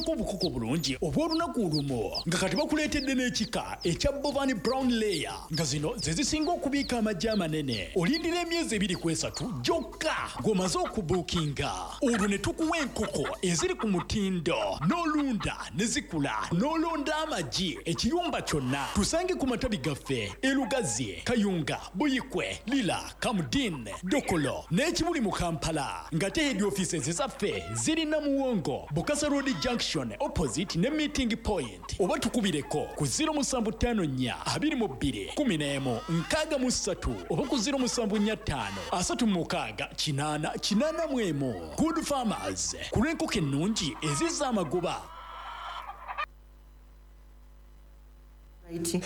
N'ofunako obukoko bulungi obw'olunaku olumu, nga kati bakuleetedde n'ekika ekya Bovan Brown Layer, nga zino ze zisinga okubiika amagi amanene. Olindira emyezi ebiri ku esatu gyokka ng'omaze okubuukinga, olwo ne tukuwa enkoko eziri ku mutindo n'olunda ne zikula n'olonda amagi ekiyumba kyonna. Tusange ku matabi gaffe e Lugazi, Kayunga, Buikwe, Lira, Kamdin, Dokolo n'e Kibuli mu Kampala, ng'ate head offices zaffe ziri Namuwongo, Bukasa Road Junction, opposite ne Meeting Point, oba tukubireko ku 0754 22 11 63 oba ku 0745 36 80 81. Good Farmers, ku lw'enkoko ennungi ezizza amagoba. Right.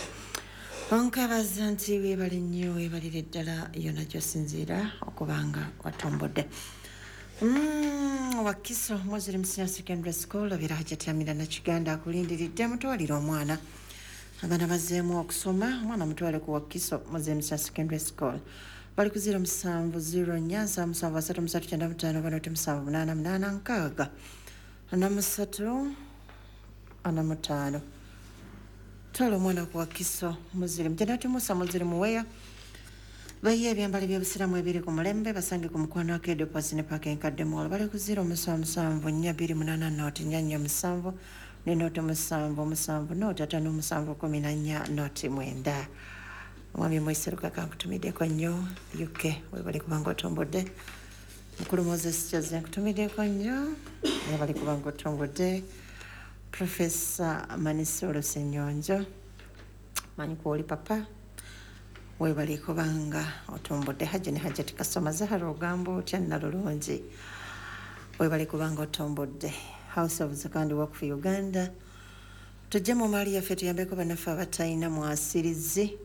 Onkabaza nti weebale nnyo, weebalire ddala yonna gy'osinziira okubanga watombodde. Wakiso Muslim Senior Secondary School abeera Hajati Amira Nakiganda akulindiridde, mutwalire omwana. Abaana bazzeemu okusoma, omwana mutwale ku Wakiso Muslim Senior Secondary School. Bali ku 0704 77 33 95 oba noti 788 6 43 45. Twala omwana ku Wakiso Muslim. Janati Musa Muslim Weya bayiye ebyambalo by'obusiraamu ebiri ku mulembe. Basange ku Mukwano Arcade opposite ne Paaka Enkadde Mall. Bali ku 077 428 0 4 4 7 ne 0 7 7 0 5 7 14 0 9. Omwami Mweseruka, nkutumiddeko nnyo UK, webali kubanga otombodde. Mukulu Moses Kyoze, nkutumiddeko nnyo, webali kubanga otombodde. Profesa Manisolo Senyonjo, manyi kwoli papa, webali kubanga otombodde. Hajji ne Hajjati Kasoma Zahara, ogamba otya? Nalulungi, webali kubanga otombodde. House of Zakandi Work for Uganda, tujje mu maali yaffe tuyambeko bannaffe abatalina mwasirizi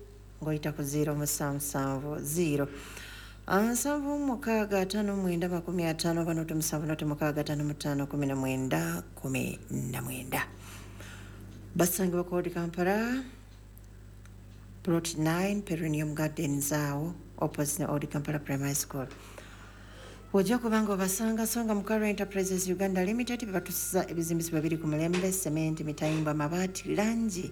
ng'oyita ku 077 0 76 59 50 oba 0 7 0 6 5 19 19. Basangibwa ku Old Kampala, Plot 9, Perennium Gardens, awo opposite ne Old Kampala Primary School ojja kubanga obasanga. So nga Mukaro Enterprises Uganda Limited bebatusiza ebizimbisibwa biri ku mulembe: sementi, mitayimbwa, mabaati, langi.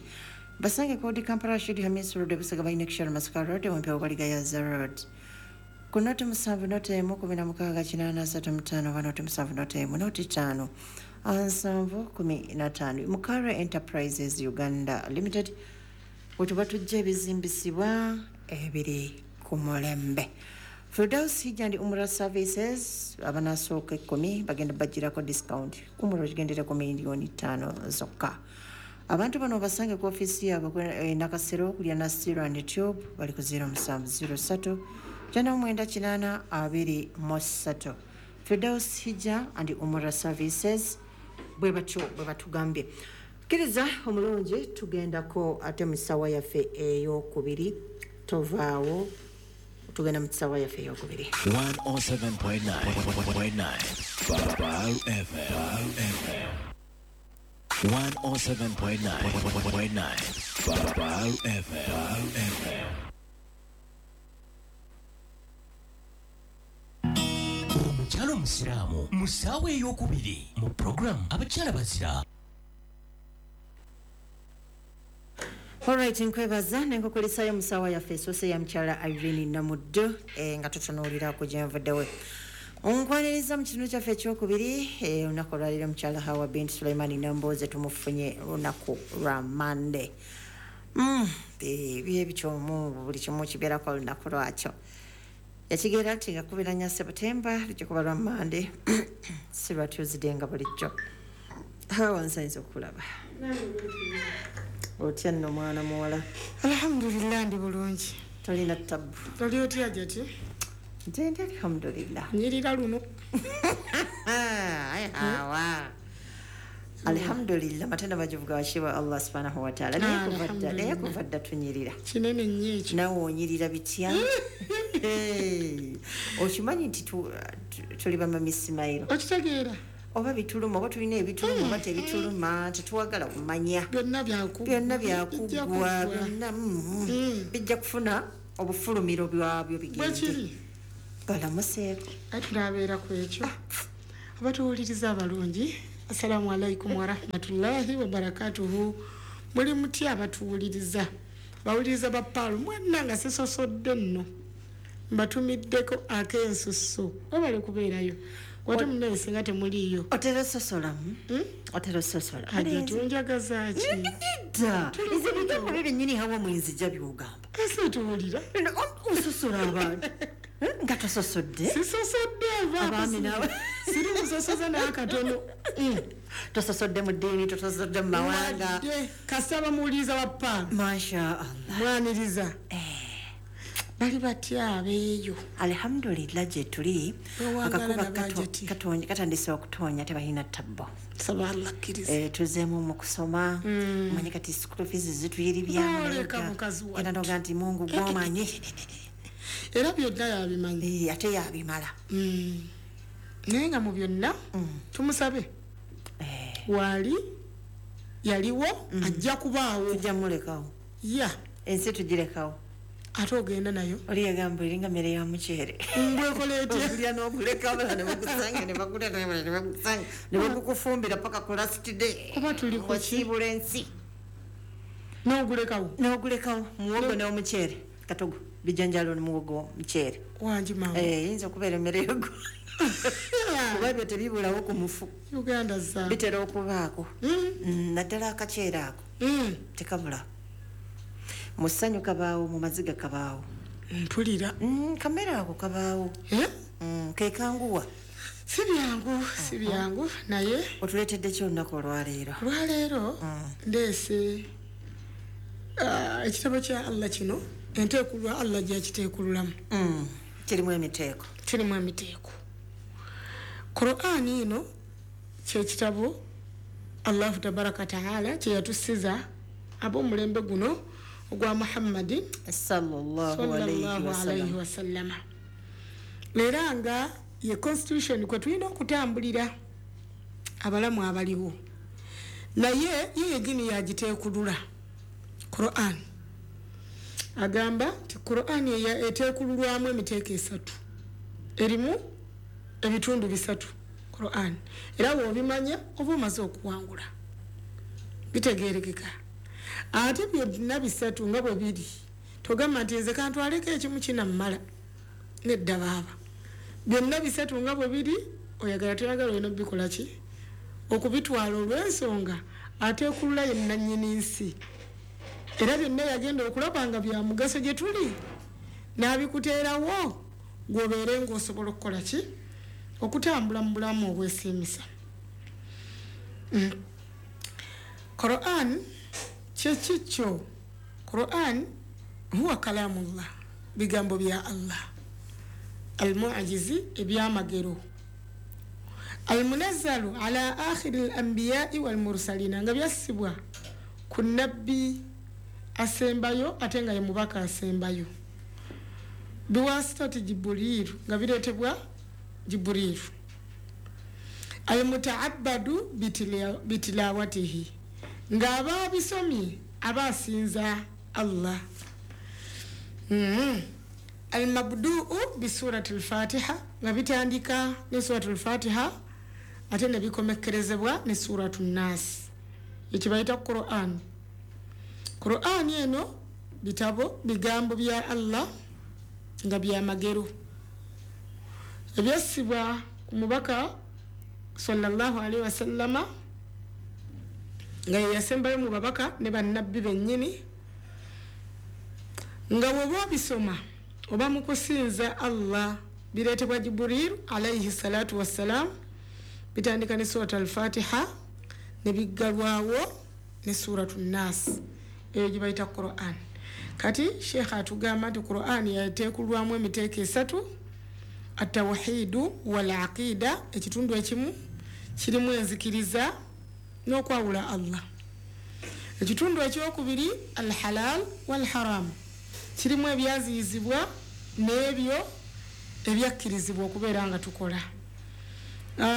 Basange ku Old Kampala, Rashid Hamis Road, Busaga balina Kisharo Masuka Road, Wempewo Baligayaza Road, ku 0 7 0 1 16 8 35 oba 0 7 0 1 0 5 7 15. Mukaro Enterprises Uganda Limited, wetuba tujja ebizimbisibwa ebiri ku mulembe. Firdaus Hijja and Umrah Services, abanasooka 10 bagenda bagirako discount. Umrah okigendera ku miliyoni 5 zokka. Abantu bano basange ku ofiisi yaabwe e Nakasero kulya na Steel and Tube. Bali ku 0703 9 80 23. Firdaus Hijja and Umrah Services, bwe batyo bwe batugambye. Kkiriza omulungi, tugendako ate mu ssaawa yaffe eyokubiri. Tovaawo, tugenda mu kisaawa yaffe eyokubiri. 107.9 Bar FM. 107.9 Bar FM. Omukyala omusiraamu mu ssaawa eyokubiri mu puroguramu Abakyala Bazira. Alright, nkwebaza nenkukulisayo mu ssaawa yaffe esoose ya mukyala Irene Namuddo, nga tutunuulira ku gyenvuddewe. Nkwaniriza mu kitundu kyaffe ekyokubiri. Olunaku olwaliro mukyala Hawa Bint Suleimani Namboze tumufunye lunaku lwa Mande. Byebikyomu buli kimu kibeerako olunaku lwakyo. Yakigera nti nga 14 Sebutemba lujja kuba lwa Mande, si lwa Tuesday nga bulijjo. Hawa, nsanyusa okulaba. Otya nno, mwana muwala? Alhamdulillah, ndi bulungi. Tolina tabu? Oli otya, Jati? Nze ndi alhamdulillah. Nyirira luno. Ai, Hawa, alhamdulillah, matendo majivu gawashiwa Allah subhanahu wataala. Naye kuva dda, naye kuva dda tunyirira. Kinene nnyo ekyo. Nawe onyirira bitya? Hey, okimanyi nti tuli bamamisimayiro? Okitegeera. Oba bituluma, oba tulina ebituluma, oba tebituluma, tetuwagala kumanya. Byonna byakuggwa. Byonna byakuggwa byonna, bijja kufuna obufulumiro bwabyo bigende. Bwekiri. Balamuseeko. Ate tunabeera ku ekyo. Abatuwuliriza abalungi, Assalamu alaikum warahmatullahi wabarakatuhu. Muli mutya abatuwuliriza, bawuliriza ba Paalu mwenna nga sisosodde nno, mbatumiddeko ak'ensusu, webale kubeerayo. Wate munnaye singa temuliiyo. Otera ososolamu? Otera ososola? Ajja tunjagaza ki? Nedda, nze ebigambo byo byennyini hawa mwenzijja by'ogamba. Ese tuwulira. Ososola abantu nga tososodde. Sisosodde. Abaami naawe. Siri musosoze n'akatono. Tososodde mu ddiini, tososodde mu mawanga. Kasita bamuwuliriza wa Paalu. Masha Allah. Mwaniriza. Bali batya abeeyo? Alhamdulillah gye tuli. Bawangaala Akakuba na bajeti. katandise okutonya, tebalina tabbo. Saba Allah akkirize. Tuzeemu mu kusoma. Omanyi kati school fees zituyiribyamu. Oleka mukazi wattu. Era noga nti Mungu gw'omanyi. Era byonna yabimanyi. Ate yabimala. Naye nga mu byonna tumusabe. Waali yaliwo ajja kubaawo. Tujja mulekawo. Ya. Ensi tugirekawo. Ate ogenda nayo. Oli yagamba eringa mmere ya muceere. Mbwekola etya? Okulya n'okuleka abalala ne bakusanga, ne bakulya ne bakusanga, ne bakukufumbira paka ku last day. Oba tuli ku ki? Osiibula ensi. N'ogulekawo. N'ogulekawo muwogo n'omuceere. Katogo bijanjaalo n'omuwogo muceere. Wangi maama. Eyinza okubeera emmere yogo. Kuba ebyo tebibulawo ku mufu. Uganda za. Bitera okubaako. Naddala akaceere ako. Tekabula. Mu ssanyu kabaawo, mu maziga kabaawo. Mpulira. Kamere ako kabaawo. Ke kanguwa. Si byangu, si byangu, naye otuleetedde ki olunaku olwaleero? Olwaleero ndeese ekitabo kya Allah kino, enteekulwa Allah gy'akiteekululamu. Kirimu emiteeko. Kirimu emiteeko. Qur'ani eno kye kitabo Allahu tabaraka taala kye yatusiza ab'omulembe guno ogwa Muhammadi sallallahu alayhi wasallama. Era nga ye constitution kwe tulina okutambulira abalamu abaliwo, naye ye yennyini yagiteekulula. Qur'an agamba nti Qur'an eteekululwamu emiteeko esatu, erimu ebitundu bisatu. Qur'an era bw'obimanya oba omaze okuwangula, bitegeerekeka. Ate byonna bisatu nga bwe biri, togamba nti nze kantwaleko ekimu kinammala. Nedda baaba, byonna bisatu nga bwe biri, oyagala toyagala olina obikola ki? Okubitwala olw'ensonga ateekulula ye nnannyini nsi. Era byonna yagenda okulaba nga bya mugaso gye tuli, n'abikuteerawo gw'obeere ng'osobola okukola ki? Okutambula mu bulamu obwesiimisa. Qur'an kye kyo? Qur'an huwa kalamullah, bigambo bya Allah almu'jizi, ebyamagero, almunazzalu ala akhiri al-anbiya'i wal mursalina, nga byassibwa ku nabbi asembayo ate nga ye mubaka asembayo, biwasitati Jibriilu, nga bireetebwa Jibriilu, almutaabbadu bitilawatihi, nga abaabisomye abasinza Allah. Almabduu bisurati al-Fatiha, nga bitandika ne surati al-Fatiha ate ne bikomekkerezebwa ne suratu Nnas, ekibayita Qur'an. Qur'an eno bitabo bigambo bya Allah nga byamagero, ebyassibwa ku mubaka sallallahu alaihi wasallama, nga ye yasembayo mu babaka ne bannabbi bennyini, nga bw'oba obisoma oba mu kusinza Allah, bireetebwa Jibriilu alaihi salatu wassalam, bitandika ne suratu al-Fatiha ne biggalwawo ne suratu Nnas, eyo gye bayita Qur'an. Kati Sheikh atugamba nti Qur'an yateekulwamu emiteeko esatu: atawhidu wal aqida, ekitundu ekimu kirimu enzikiriza n'okwawula Allah. Ekitundu ekyokubiri alhalal wal haram, kirimu ebyaziyizibwa n'ebyo ebyakkirizibwa okubeera nga tukola.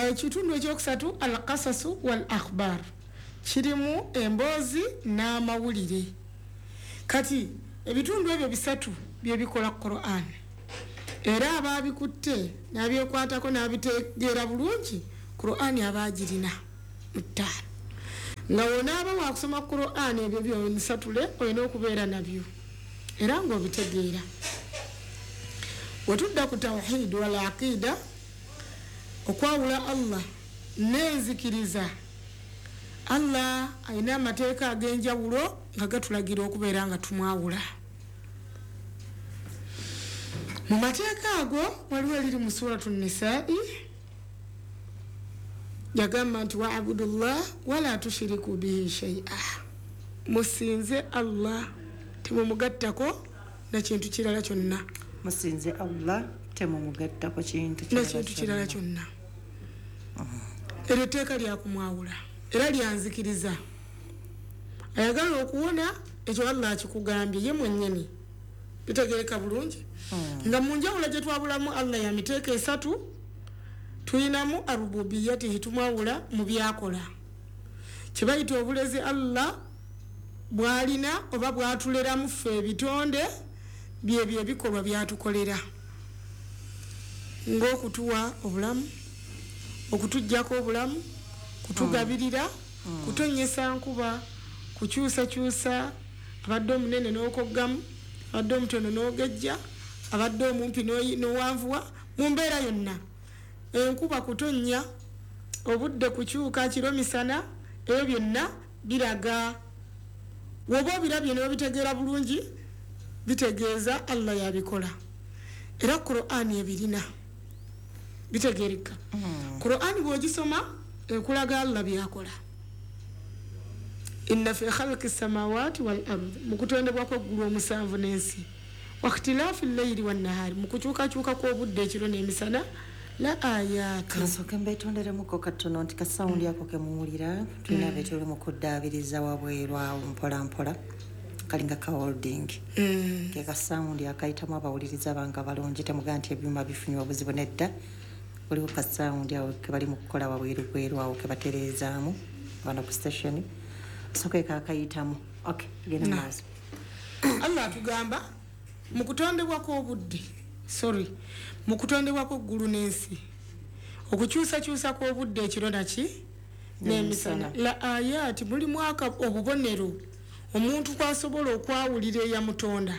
Ekitundu ekyokusatu alqasasu wal akhbar, kirimu emboozi n'amawulire. Kati ebitundu ebyo bisatu bye bikola Qur'an. Era abaabikutte n'abyekwatako n'abitegeera bulungi, Qur'an abaagirina. 5. Nga wonaaba wakusoma Qur'an ebyo byonsatule olina okubeera nabyo era ng'obitegeera. Wetudda ku tawhid wal aqida, okwawula Allah n'enzikiriza. Allah alina amateeka ag'enjawulo nga gatulagira okubeera nga tumwawula. Mu mateeka ago waliwo eriri mu Suratu Nisaa'i, yagamba nti wa'budullah wala tushiriku bihi shay'a, musinze Allah temumugattako na kintu kirala kyonna. Musinze Allah temumugattako kintu kirala kyonna. Eryo tteeka lyakumwawula era lyanzikiriza. Ayagala okuwona ekyo Allah akikugambye ye mwennyini. Bitegeereka bulungi. Nga mu njawula gye twabulamu Allah ya miteeka 3, tulinamu arububiyatihi, tumwawula mu byakola. Kye bayita obulezi Allah bw'alina oba bw'atuleramu ffe ebitonde byebyo ebikolwa byatukolera, ng'okutuwa obulamu, okutuggyako obulamu, kutugabirira, kutonyesa nkuba, kukyusakyusa, abadde omunene n'okoggamu, abadde omutono n'ogejja, abadde omumpi n'owanvuwa, mu mbeera yonna. Enkuba kutonnya, obudde kukyuka kiro misana, ebyo byonna biraga. Woba obirabye n'obitegeera bulungi, bitegeeza Allah yabikola. Era Qur'an ebirina bitegeereka. Qur'an bw'ogisoma ekulaga Allah byakola. Inna fi khalqi samawati wal ard, mu kutondebwa kw'eggulu 7 n'ensi, wa ikhtilafi al-layli wan nahari, mu kukyukakyuka kw'obudde ekiro n'emisana, la ayati. Kansooke mbeetonderemuko katono nti kasawundi ako ke muwulira tulina be tuli mu kuddaabiriza wabweru awo mpola mpola, kalinga ka holding. Ke kasawundi akayitamu abawuliriza bange abalungi, temugaa nti ebyuma bifunye obuzibu nedda. Waliwo kasawundi awo ke bali mu kukola wabweru bweru awo ke batereezaamu abana ku station, soke kakayitamu. Okay, genda maaso. Allah atugamba mu kutondebwa kw'obudde, sorry, mu kutondebwa kw'eggulu n'ensi, okukyusakyusa kw'obudde ekiro naki n'emisana, la ayati, mulimu obubonero omuntu kwasobola okwawulira eyamutonda.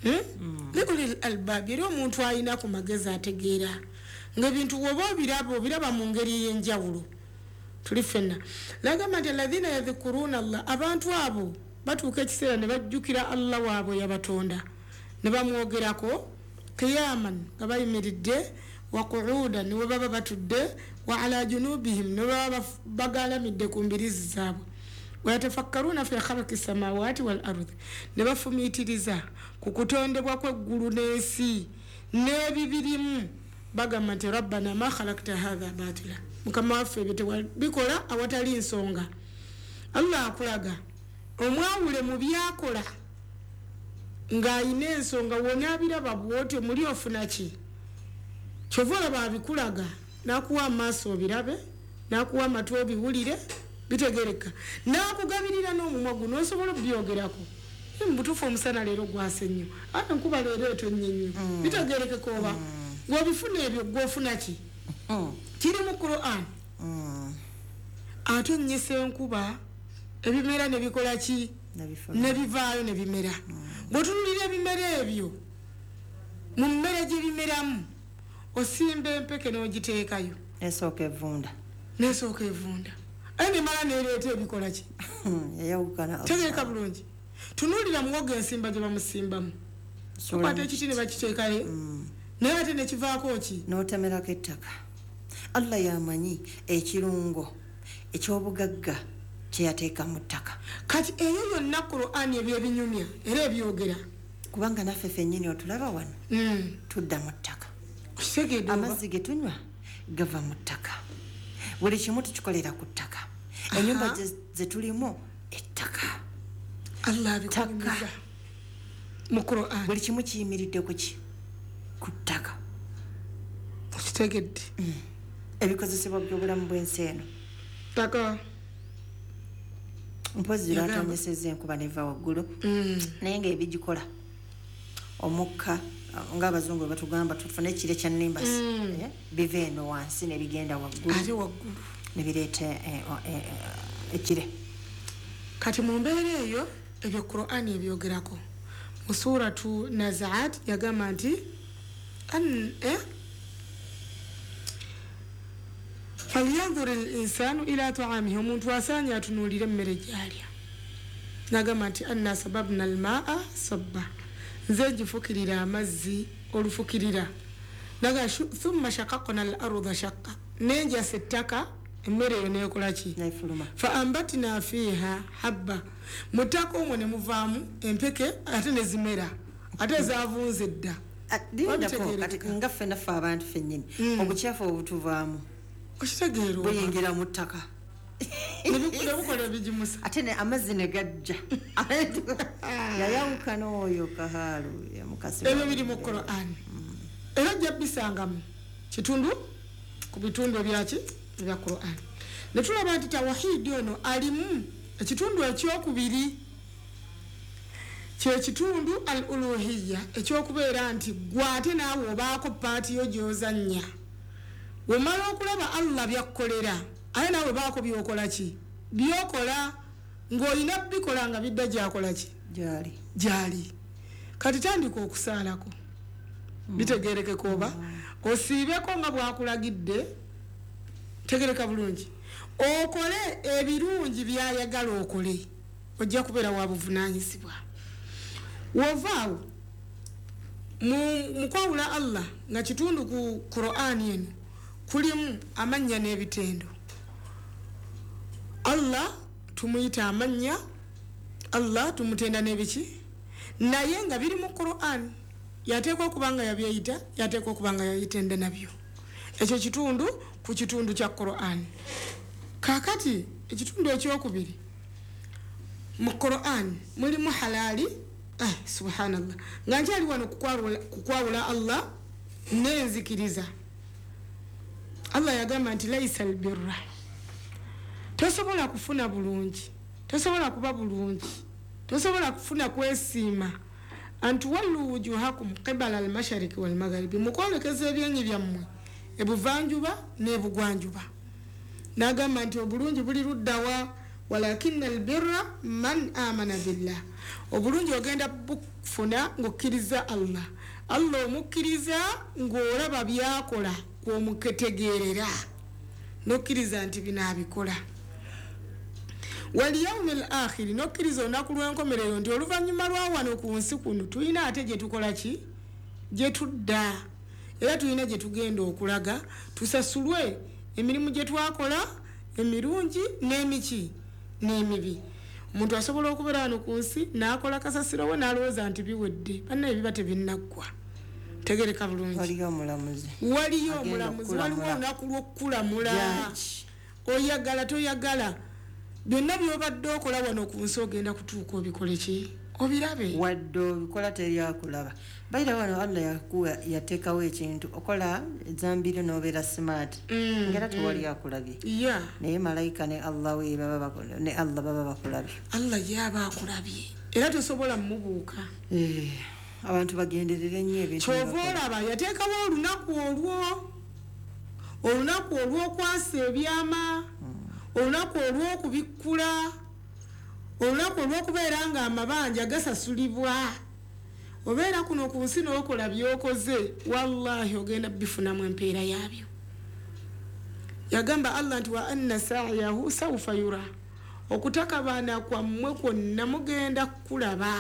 Liulil albaab, era omuntu alina ku magezi ategeera ng'ebintu woba obiraba obiraba mu ngeri ey'enjawulo. Tuli ffenna. Nagamba nti alladhina yadhkuruna Allah, abantu abo batuuka ekiseera ne bajjukira Allah waabwe yabatonda ne bamwogerako qiyaman, nga bayimiridde, wa qu'udan, ne baba batudde, wa ala junubihim, ne baba bagalamidde ku mbirizi zaabwe, wayatafakkaruna fi khalqi samawati wal ard, ne bafumiitiriza ku kutondebwa kw'eggulu n'ensi n'ebibirimu. Bagamba nti rabbana ma khalaqta hadha batila, mukama waffe ebyo tewabikola awatali nsonga. Allah akulaga omwawule mu byakola ng'ayina ensonga, wonaabiraba bw'otyo muli ofuna ki? Kyova olaba abikulaga, n'akuwa amaaso obirabe, n'akuwa amatu obiwulire, bitegereka, n'akugabirira n'omumwa guno osobola obyogerako. Mu butuufu omusana leero gwase nnyo, ate enkuba leero etonnye nnyo, bitegerekeka oba bw'obifuna ebyo gw'ofuna ki? Kiri mu Qur'an. Atonnyesa enkuba, ebimera ne bikola ki? Ne bivaayo ne bimera. Bw'otunuulira ebimera ebyo, mu mmere gye bimeramu, osimba empeke n'ogiteekayo, esooka evunda, n'esooka evunda, aye nemala n'ereeta ebikola ki? Eyawukana. Tegereka bulungi. Tunuulira muwogo ensimba gye bamusimbamu, okwata ekiti ne bakiteekayo, naye ate ne kivaako ki? N'otemerako ettaka. Allah yamanyi ekirungo eky'obugagga kye yateeka mu ttaka. Kati eyo yonna Qur'an ebyebinyumya era ebyogera, kubanga naffe ffennyini otulaba wano tudda mu ttaka. Amazzi ge tunywa gava mu ttaka, buli kimu tukikolera ku ttaka, ennyumba ze tulimu ettaka. Allah abikunyumiza mu Qur'an, buli kimu kiyimiridde ku ki? Ku ttaka. Okitegedde? Ebikozesebwa by'obulamu bw'ensi eno ttaka. Mpozi lwatonyesezza enkuba neva waggulu, naye ng'ebigikola omukka, ng'abazungu bwe batugamba tufune ekire kya nimbus, biva eno wansi ne bigenda waggulu. Ate waggulu. Nebireeta ekire. Kati mu mbeera eyo, ebyo Qur'ani ebyogerako mu Suratu Nazaat, yagamba nti falyanzur linsanu ila taamihi, omuntu asaanye atunuulire emmere gyalya. Nagamba nti anna sababna almaa sabba, nze ngifukirira amazzi olufukirira. Naga thumma shaqaqna al arda shaqqa, nenjasa ettaka, emmere eyo nekola ki? Nefuluma. Fa ambatna fiha habba, mu ttaka omwo ne muvaamu empeke, ate ne zimera, ate zavunze dda. Lindako kati. Wabitegeerekeka. Nga ffenna ffe abantu ffennyini, obukyafu obutuvaamu Okitegeera oba? buyingira mu ttaka. Ne bukola ebigimusa. Ate ne amazzi ne gajja, yayawukana oyo kahaalu mukasi. Ebyo biri mu Quran, era ojja bisangamu kitundu ku bitundu ebyaki ebya Quran. Ne tulaba nti tawahidi ono alimu ekitundu ekyokubiri, kyekitundu al uluhiya, ekyokubeera nti gwe ate naawe obaako part yo gy'ozannya. Womala okulaba Allah byakkolera, ate naawe baako byokola ki, byokola ng'olina bikola nga bidda gyakola ki? Gyali. Gyali. Kati tandika okusaalako, bitegerekeka, oba osiibeko nga bwakulagidde, tegereka bulungi, okole ebirungi byayagala okole, ojja kubeera wa buvunanyizibwa. Wovaawo mu kwawula Allah nga kitundu ku Qur'ani eno, kulimu amannya n'ebitendo. Allah tumuyita amannya, Allah tumutenda n'ebiki, naye nga biri mu Qur'an, yateekwa okuba nga yabyeyita, yateekwa okuba nga yayitenda nabyo. Ekyo kitundu ku kitundu kya Qur'an. Kaakati ekitundu ekyokubiri mu Qur'an mulimu halaali. Subhanallah, nga nkyali wano kukwawula Allah n'enzikiriza, Allah yagamba nti laisa albirra, tosobola kufuna bulungi, tosobola kuba bulungi, tosobola kufuna kwesiima, antuwallu wujuhakum qibala almashariki walmagharibi, mukwolekeza ebyenyi byammwe ebuvanjuba n'ebugwanjuba. N'agamba nti obulungi buli luddawa? Walakina albirra man amana billah, obulungi ogenda bufuna ng'okkiriza Allah. Allah omukkiriza ng'olaba byakola, kwomuketegeerera nokkiriza nti bino abikola. Walyaumi al akhiri, nokkiriza olunaku lw'enkomerero, nti oluvannyuma lwa wano ku nsi kuno tulina ate gye tukola ki, gye tudda, era tulina gye tugenda okulaga tusasulwe emirimu gye twakola emirungi n'emiki n'emibi. Omuntu asobola okubeera wano ku nsi n'akola kasasiro we n'alowooza nti biwedde. Bannaye, biba tebinnaggwa, tegereka bulungi. Waliyo omulamuzi. Waliyo Agenda omulamuzi, waliwo okukulamula. olunaku lw'okukulamula. Judge. Oyagala toyagala, byonna byobadde okola wano ku nsi ogenda kutuuka obikole ki, obirabe. Wadde obikola, teryakulaba. Baira wano Allah yakuwa, yateekawo ekintu, okola ezambiro n'obeera smart, ngaera tewali akulabye. Naye malayika ne Allah we ne Allah baba bakulabye. Allah yaba akulabye, era tosobola mumubuuka. Abantu bagenderere nnyo ebintu Kyova bye bakola. olaba yateekawo olunaku olwo, olunaku olw'okwasa ebyama, olunaku olw'okubikkula, olunaku olw'okubeera nga amabanja gasasulibwa. Obeera kuno ku nsi n'okola by'okoze, wallahi ogenda bifunamu empeera yaabyo. Yagamba Allah nti wa anna sa'yahu saufa yura, okutakabaana kwammwe kwonna mugenda kukulaba.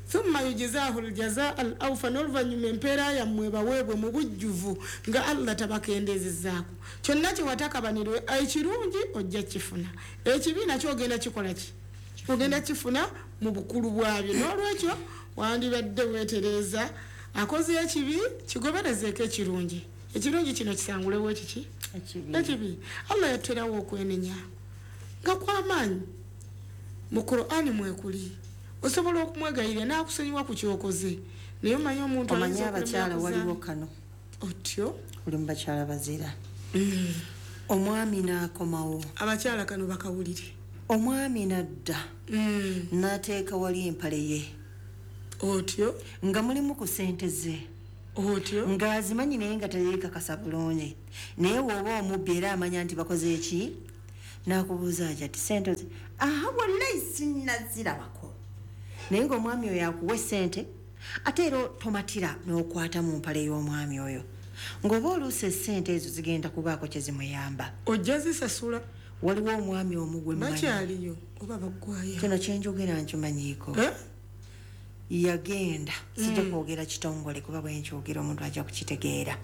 Thumma yujizaahu ljazaa al aufa, n'oluvannyuma empeera yammwe baweebwe mu bujjuvu nga Allah tabakendeezezaako. Kyonna kye watakabanirwe ekirungi ojja kifuna, ekibi nakyo ogenda kikola ki, ogenda kifuna mu bukulu bwabyo. N'olwekyo wandibadde weetereeza, akoze ekibi kigoberezeeko ekirungi, ekirungi kino kisangulewo ekiki? Ekibi. Ekibi. Allah yatuterawo okwenenya nga kwamaanyi mu Qur'ani, mwekuli osobola okumwegayirira n'akusonyiwa ku kyokoze, naye omanyi omuntu Omanyi ayinza abakyala okulemera waliwo kuzaala. Kano Otyo. oli mu bakyala bazira, omwami n'akomawo. Abakyala kano bakawulire. Omwami n'adda n'ateeka wali empale ye Otyo. nga mulimu ku sente ze. Otyo Ng'azimanyi naye nga teyeekakasa bulungi, naye woba omubbi era amanya nti bakoze eki, n'akubuuza aja ti sente aha, wallayi sinnazirabako. Naye ng'omwami oyo akuwa esente, ate era tomatira n'okwata mu mpale y'omwami oyo, ng'oba oluusi esente ezo zigenda kubaako kye zimuyamba. Ojja zisasula. Waliwo omwami omu gwe mmanyi. Bakyaliyo oba baggwayo? Kino kyenjogera nkimanyiiko. Eh? Yagenda, sijja kwogera kitongole kuba bwenkyogera omuntu ajja kukitegeera.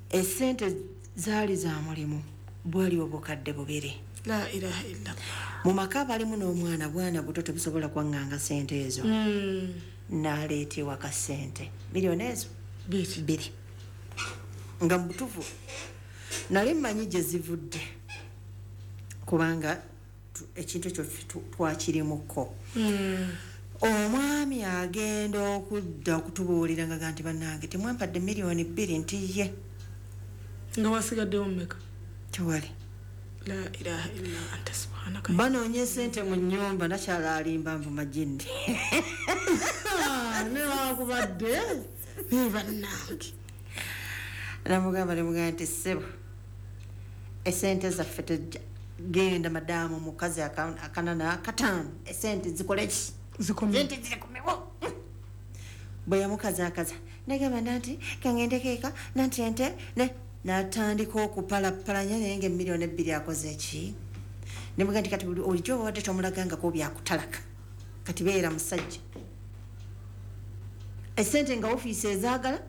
Esente zaali za mulimu, bwali obukadde 2. La ilaha illallah. Mu maka balimu n'omwana, bwana buto, tebusobola kwaŋŋanga sente ezo. N'aleeta ewaka sente miliyoni ezo 2. 2, nga mu butuufu nali mmanyi gye zivudde, kubanga ekintu ekyo ffe twakirimukko. Omwami agenda okudda okutubuulira nga nti bannange temwampadde miliyoni 2, nti ye. Nga wasigaddewo mmeka? Tewali. La ilaha illa anta subhanaka. Banoonya esente mu nnyumba, nakyala alimba nvuma jinni. Ah, newakubadde naye bannange. Namugamba, nemugamba nti ssebo, esente zaffe tejja genda madaamu mukazi 4 5 esente zikole ki? Zikomye. Sente zikomewo. Bwe yamukazaakaza negamba nanti kaŋŋendeko eka, nanti ente ne natandika okupalapalanya, naye nga emiliyoni 2 akoze ki? Nemuga nti kati olijjo obadde tomulagangako byakutalaka, kati beera musajja, esente nga ofiisi ezaagala.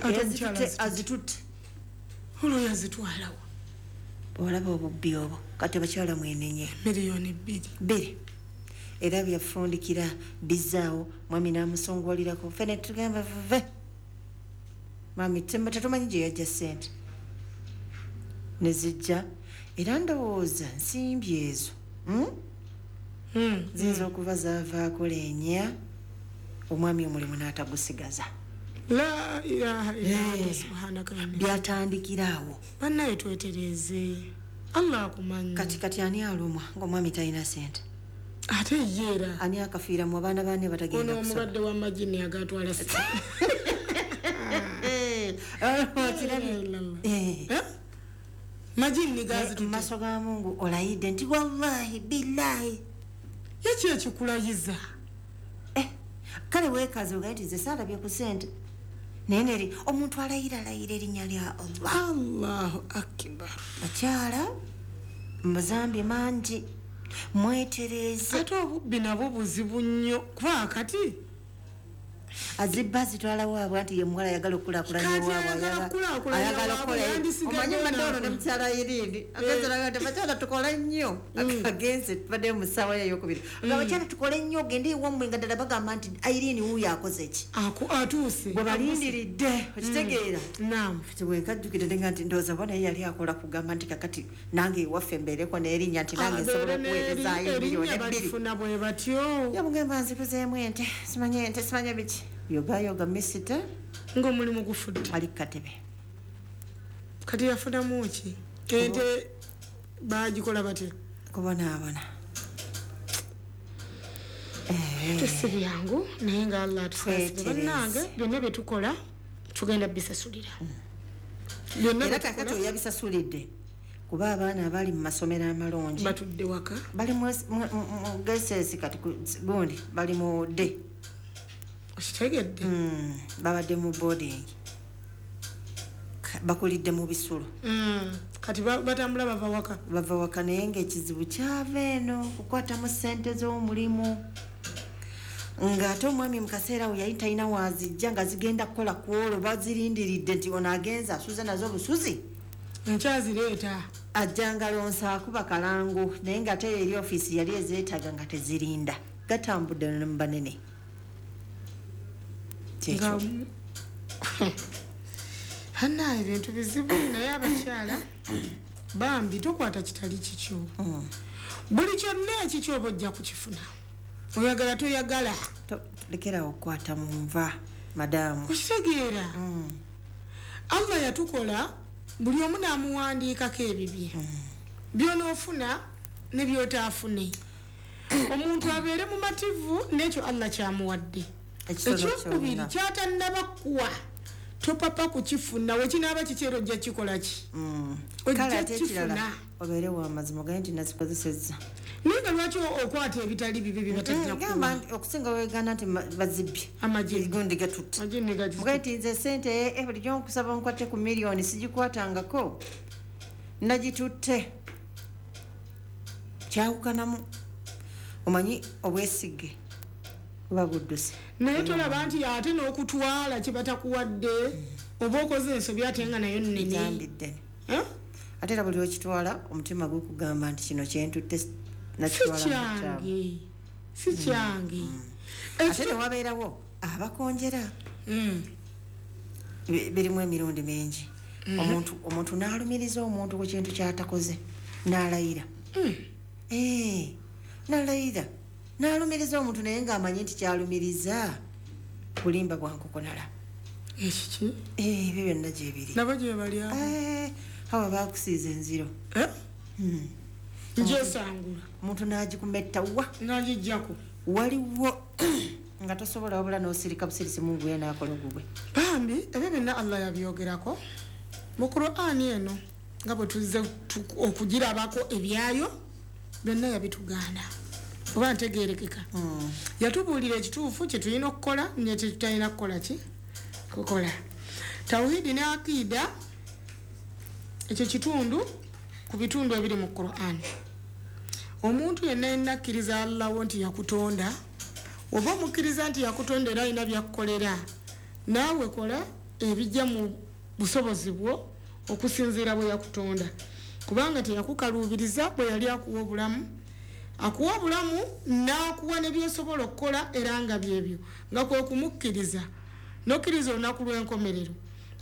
Ate omukyala Yazitutte, azitutte. Olwo yazitwalawa? Olaba obubbi obwo? Kati abakyala mwenenye. Miliyoni 2. 2 era byafundikira bizaawo, mwami n'amusonguwalirako, ffe ne tugamba ve mami tetumanyi gye yajja sente ne zijja, era ndowooza nsimbi ezo, Ziyinza okuba zaavaako leenya, omwami omulimu n'atagusigaza. La ilaha illa anta Eh. subhanaka inni. Byatandikira awo. Bannaye twetereeze, Allah akumanyi. Kati ani alumwa ng'omwami talina sente? Ate ye era Ani akafiiramu? Abaana baane batagenda ono kusoma. omulwadde wa majini agatwala. Okirabye? Eh. Eh? Majini Mu gazitutte. maaso ga Mungu olayidde nti wallahi billahi. Yeki ekikulayiza? Eh, kale weekaze ogaye nti nze saalabye ku sente, naye neri omuntu alayira alayira erinnya lya Allah. Allahu akbar. Bakyala, muzambi mangi, mwetereeze. Ate obubbi nabwo buzibu nnyo, kuba kati Azibba azitwala waabwe, anti ye muwala ayagala okukulaakulanya Kati waabwe. ayagala kukulaakulanya Ayagala waabwe, okukola. yandisigadde Omanyi mbadde ono naako. ne mukyala Irindi agenzeraga nti bakyala tukole nnyo, agenze tubadde mu ssaawa ye eyokubiri nga bakyala tukole nnyo, ogende ewammwe nga ddala bagamba nti Irene wuuyo akoze ki. Atuuse. Bwe balindiridde, okitegeera? Naam. Wekajjukire nenga nti ndowooza bona ye yali akola kugamba nti kakati nange ewaffe mbeereko n'erinnya nti nange nsobola Abeere okuweerezaayo emiliyoni erinnya 2. balifuna bwe batyo. Yamugamba nzikuzeemu ente, simanye ente, simanye biki, yogayoga misita. Ng'omulimu gufudde. Ali kukatebe. Kati yafunamu ki? Ente bagikola batya? Kubonaabona. Tesi byangu, naye nga Allah atusaasire. Twetereze. Bannange, byonna bye tukola tugenda bisasulira, byonna Era bye kakati tukola. oyo yabisasulidde kuba abaana abali mu masomero amalungi Batudde waka. Bali mu gesesi kati gundi bali mu d Okitegedde? Babadde mu boarding, bakulidde mu bisulo. Kati batambula bava waka. Bava waka, naye ngaekizibu kyava eno kukwatamu ssente z'omulimu, ng'ate omwami mu kaseera awo yali talina waazijja nga zigenda kukola ku olwo, bazirindiridde nti ono agenze asuze nazo obusuzi. Nkyazireeta. Ajja ngalonsa akuba kalango, naye ng'ate eri ofiisi yali ezeetaaga nga tezirinda, gatambudde ne mu banene. Kyekyo. Hanna, ebintu bizibu, naye abakyala bambi tokwata kitali kikyo. Buli kyonna ekikyo oba ojja kukifuna, oyagala toyagala. Lekerawo okukwata mu nva, madaamu. Okitegeera? Allah yatukola buli omu n'amuwandiikako ebibye, byonoofuna ne byotaafune, omuntu abeere mumativu n'ekyo Allah kyamuwadde. Ekyokubiri kyatannaba kuwa topapa kukifuna, wekinaaba kikyero ojja kikola ki? Kale ate ekirala obeere wa mazima, ogambe nti nazikozesezza. Naye nga lwaki okwata ebitali bibi bye batajja kuwa? Gamba nti okusinga weegaana nti bazibbye. Amagye. Gundi gatutte. Amagye ne gatutte. Mugambe nti nze ssente, bulijjo nkusaba nkwate ku miliyoni sigikwatangako, nagitutte. Kyawukanamu. Omanyi obwesige buba budduse. Naye tolaba nti ate n'okutwala kye batakuwadde oba okoze ensobi ate nga nayo nnene. Nzambi ddene. Eh? Ate era buli lw'okitwala omutima gukugamba nti kino kye ntutte nakitwala Si mu bukyamu. kyange. Si kyange. Ate ne wabeerawo abakonjera. Birimu emirundi mingi. Omuntu n'alumiriza omuntu ku kintu ky'atakoze n'alayira. N'alayira. N'alumiriza omuntu naye ng'amanyi nti ky'alumiriza bulimba bwa nkokonala. Ekiki? Ebyo byonna gye biri. Nabo gye bali awo. Abo baakusiiza enziro. Ngyesangula. Omuntu n'agikumetta wa? N'agiggyako. Waliwo nga tosobola wabula n'osirika busirisi Mungu ye n'akola ogugwe. Bambi ebyo byonna Allah yabyogerako mu Qur'ani eno nga bwe tuzze okugirabako ebyayo byonna yabitugaana. Oba ntegeerekeka. Yatubuulira ekituufu kye tulina okukola ne kye tutalina kukola ki? Kukola. Tawhidi ne akiida ekyo kitundu ku bitundu ebiri mu Qur'an. Omuntu yenna yenna akkiriza Allah wo nti yakutonda, oba omukkiriza nti yakutonda era alina by'akukolera, naawe kola ebijja mu busobozi bwo okusinziira bwe yakutonda. Kubanga teyakukaluubiriza bwe yali akuwa obulamu, akuwa obulamu n'akuwa ne by'osobola okukola era nga byebyo, nga kwe kumukkiriza. N'okkiriza olunaku lw'enkomerero,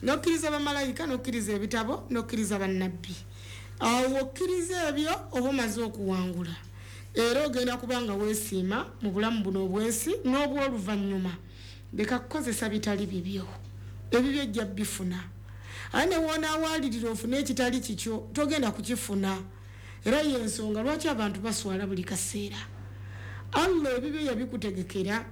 n'okkiriza bamalayika, n'okkiriza ebitabo, n'okkiriza bannabbi. Awo okkiriza ebyo oba omaze okuwangula, era ogenda kuba nga weesiima mu bulamu buno obw'ensi n'obw'oluvannyuma. Leka kukozesa bitali bibyo, ebibyo ojja bifuna. Aye ne w'onaawalirira ofune ekitali kikyo, togenda kukifuna. Era y'ensonga lwaki abantu baswala buli kaseera. Allah ebibyo yabikutegekera.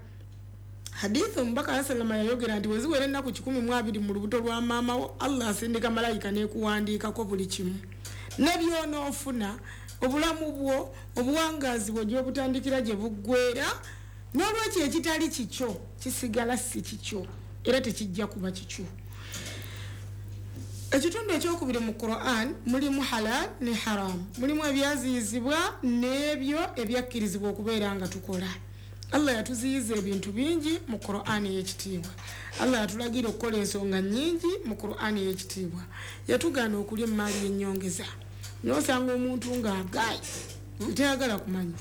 Hadithi omubaka alayhi salama yayogera nti weziwera ennaku 120 mu lubuto lwa maama wo, Allah asindika malayika n'ekuwandiikako buli kimu. Ne by'onoofuna, obulamu bwo, obuwangaazi bwo gy'obutandikira gye buggweera, n'olwekyo ekitali kikyo kisigala si kikyo era tekijja kuba kikyo. Ekitundu ekyokubiri mu Qur'an mulimu halal ne haram, mulimu ebyaziyizibwa n'ebyo ebyakkirizibwa okubeera nga tukola. Allah yatuziyiza ebintu bingi mu Qur'an ey'ekitiibwa. Allah yatulagira okukola ensonga nnyingi mu Qur'an ey'ekitiibwa. Yatugaana okulya emmaali y'ennyongeza. N'osanga omuntu ng'agaye, tayagala kumanya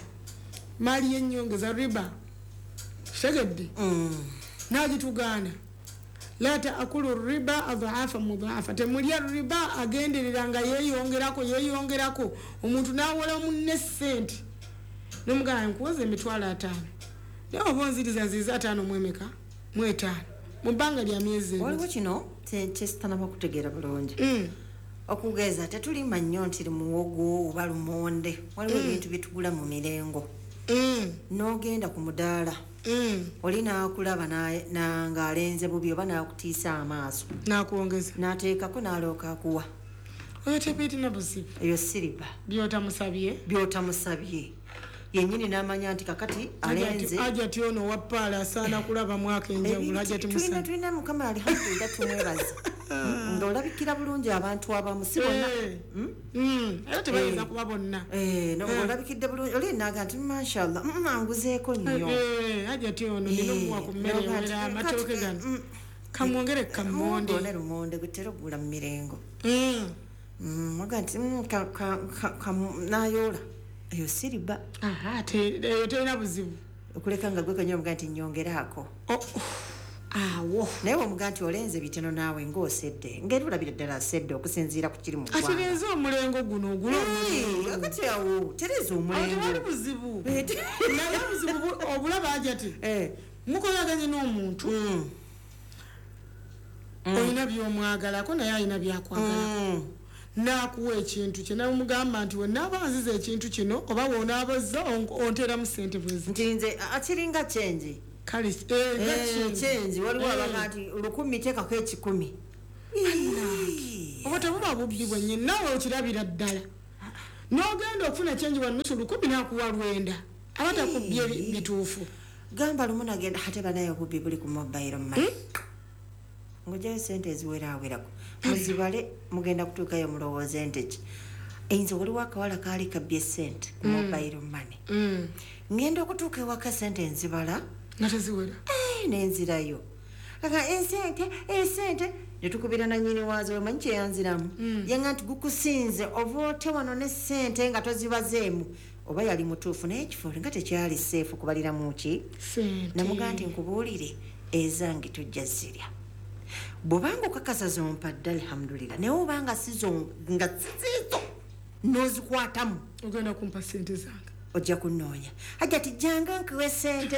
maali y'ennyongeza, riba. Kitegedde? N'agitugaana. La ta'kulu riba adhaafa mudhaafa, temulya riba agenderera nga yeeyongerako yeeyongerako. Omuntu n'awola munne ssente n'omugamba nkuwoza 50,000, naye oba onziriza nziriza 5 mu emeka mu 5 mu bbanga lya myezi ebiri. Waliwo kino kyesitanaba kutegeera bulungi. Okugeza tetulima nnyo nti muwogo oba lumonde, waliwo ebintu bye tugula mu mirengo. N'ogenda ku mudaala, oli n'akulaba ng'alenze bubi oba n'akutiisa amaaso, n'akwongeza, n'ateekako n'alooka akuwa. Oyo tebiirina buzibu. Eyo siriba. By'otamusabye. By'otamusabye. Yennyini n'amanya nti kakati alenze. Ajati ono wa ppaala asaana kulaba mwaka enjawulo, ajati musabye. Tulina Mukama alhamdulillah tumwebaza. Ng'olabikira bulungi abantu abamu si bonna. Era tebayinza kuba bonna. Ng'olabikidde bulungi oli naaga nti mashallah, anguzeeko nnyo. Ajati ono nina omuwa ku mmere ewera amatooke gano. Kamwongere kammonde. Muwongere lumonde gutera okugula mu mirengo. Muga nti n'ayoola. Eyo siriba. Eyo terina buzibu. Okuleka nga gwe kennyini omuga nti nnyongeraako. Awo. Naye bw'omuga nti olenze bitono naawe ng'osedde, ng'era olabira ddala asedde okusinziira ku kiri mu ggwanga. Atereeza omulengo guno ogula omulengo. Kakati awo tereeza omulengo. Awo tewali buzibu. Naye obuzibu obulaba ajati. Mukolaganye n'omuntu. Olina by'omwagalako naye alina by'akwagalako. N'akuwa ekintu kye namugamba nti wenaaba nziza ekintu kino oba w'onaabozza onteramu ssente bwezi. Nti nze akiringa kyenji. Kale change waliwo abaga nti 1000 teekako 100. Oba tebuba bubbi bwennyini, naawe okirabira ddala. N'ogenda okufuna change wa nusu 1000 n'akuwa 900, aba takubbye bituufu. Gamba lumu nagenda ate banaye obubbi buli ku mobile money. Ng'oggyayo sente eziweraawerako muzibale, mugenda kutuukayo mulowooze nti ki. Eyinza waliwo akawala kaali kabbye sente ku mobile money. Ngenda okutuuka ewaka sente nzibala nga teziwera. Nenzirayo aka esente netukubira na nnyini waazo, omanyi kyeyanziramu? Yanga nti gukusinze ova otya wano ne sente nga tozibazeemu. Oba yali mutuufu, naye ekifo nga tekyali seefu kubaliramu ki sente. Namugaa nti nkubuulire, ezange tojja zirya. Bw'obanga okakasa zompadde, alhamdulillah, naye obanga sizo nga sizizo n'ozikwatamu, ogenda kumpa sente zange, ojja kunoonya. Ajja ti janga nkuwe sente.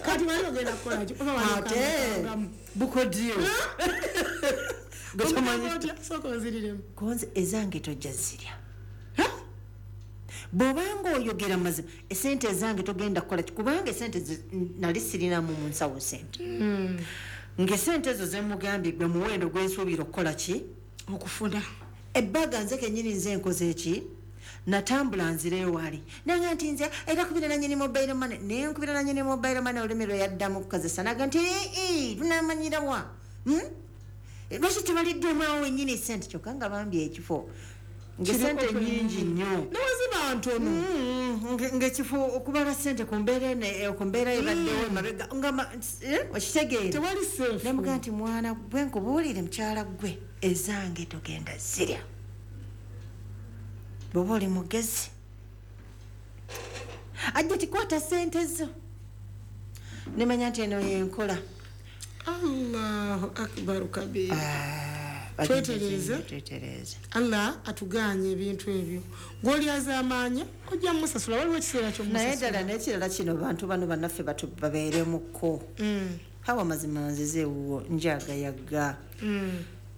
Kati wali ogenda kukola ki? Oba wali Ate okangamu? Bukodyo. Ogamba otya? Sooka onziriremu. Konze ezange tojja zirya. Bw'obanga oyogera mazima, esente ezange togenda kukola ki, kubanga esente nali sirinamu mu nsawo sente. Ng'esente ezo zemugambye gwe muwendo gwensuubira okukola ki? Okufuna. Ebbaga nze kennyini nze nkoze eki? Natambula nzireyo wali. Nanga nti nze era kubira na nnyini mobile money, naye nkubira na nnyini mobile money olulimi lwe yaddamu okukozesa. Naga nti ee, tunamanyira wa? Lwaki tebaliddemu awo wennyini sente? Kyokka nga bambi ekifo ng'esente Kiri open. nnyingi nnyo. Nawe ziba ntono. Ng'ekifo okubala sente ku mbeera eno, ku mbeera ebaddewo emabega, nga okitegeera. Tewali seefu. Namugaa nti mwana gwe nkubuulire, mukyala gwe, ezange togenda zirya. Bw'oba oli mugezi ajja tikwata sente zo. Nemanya nti eno yenkola. Allahu akbar kabira. Twetereeze. Twetereeze. Allah atuganye ebintu ebyo. Gw'olyazaamaanya ojja musasula, waliwo ekiseera Naye ky'omusasula. ddala n'ekirala kino, bantu bano bannaffe babeeremuko. Hawa mazima nzize ewuwo njagayagga.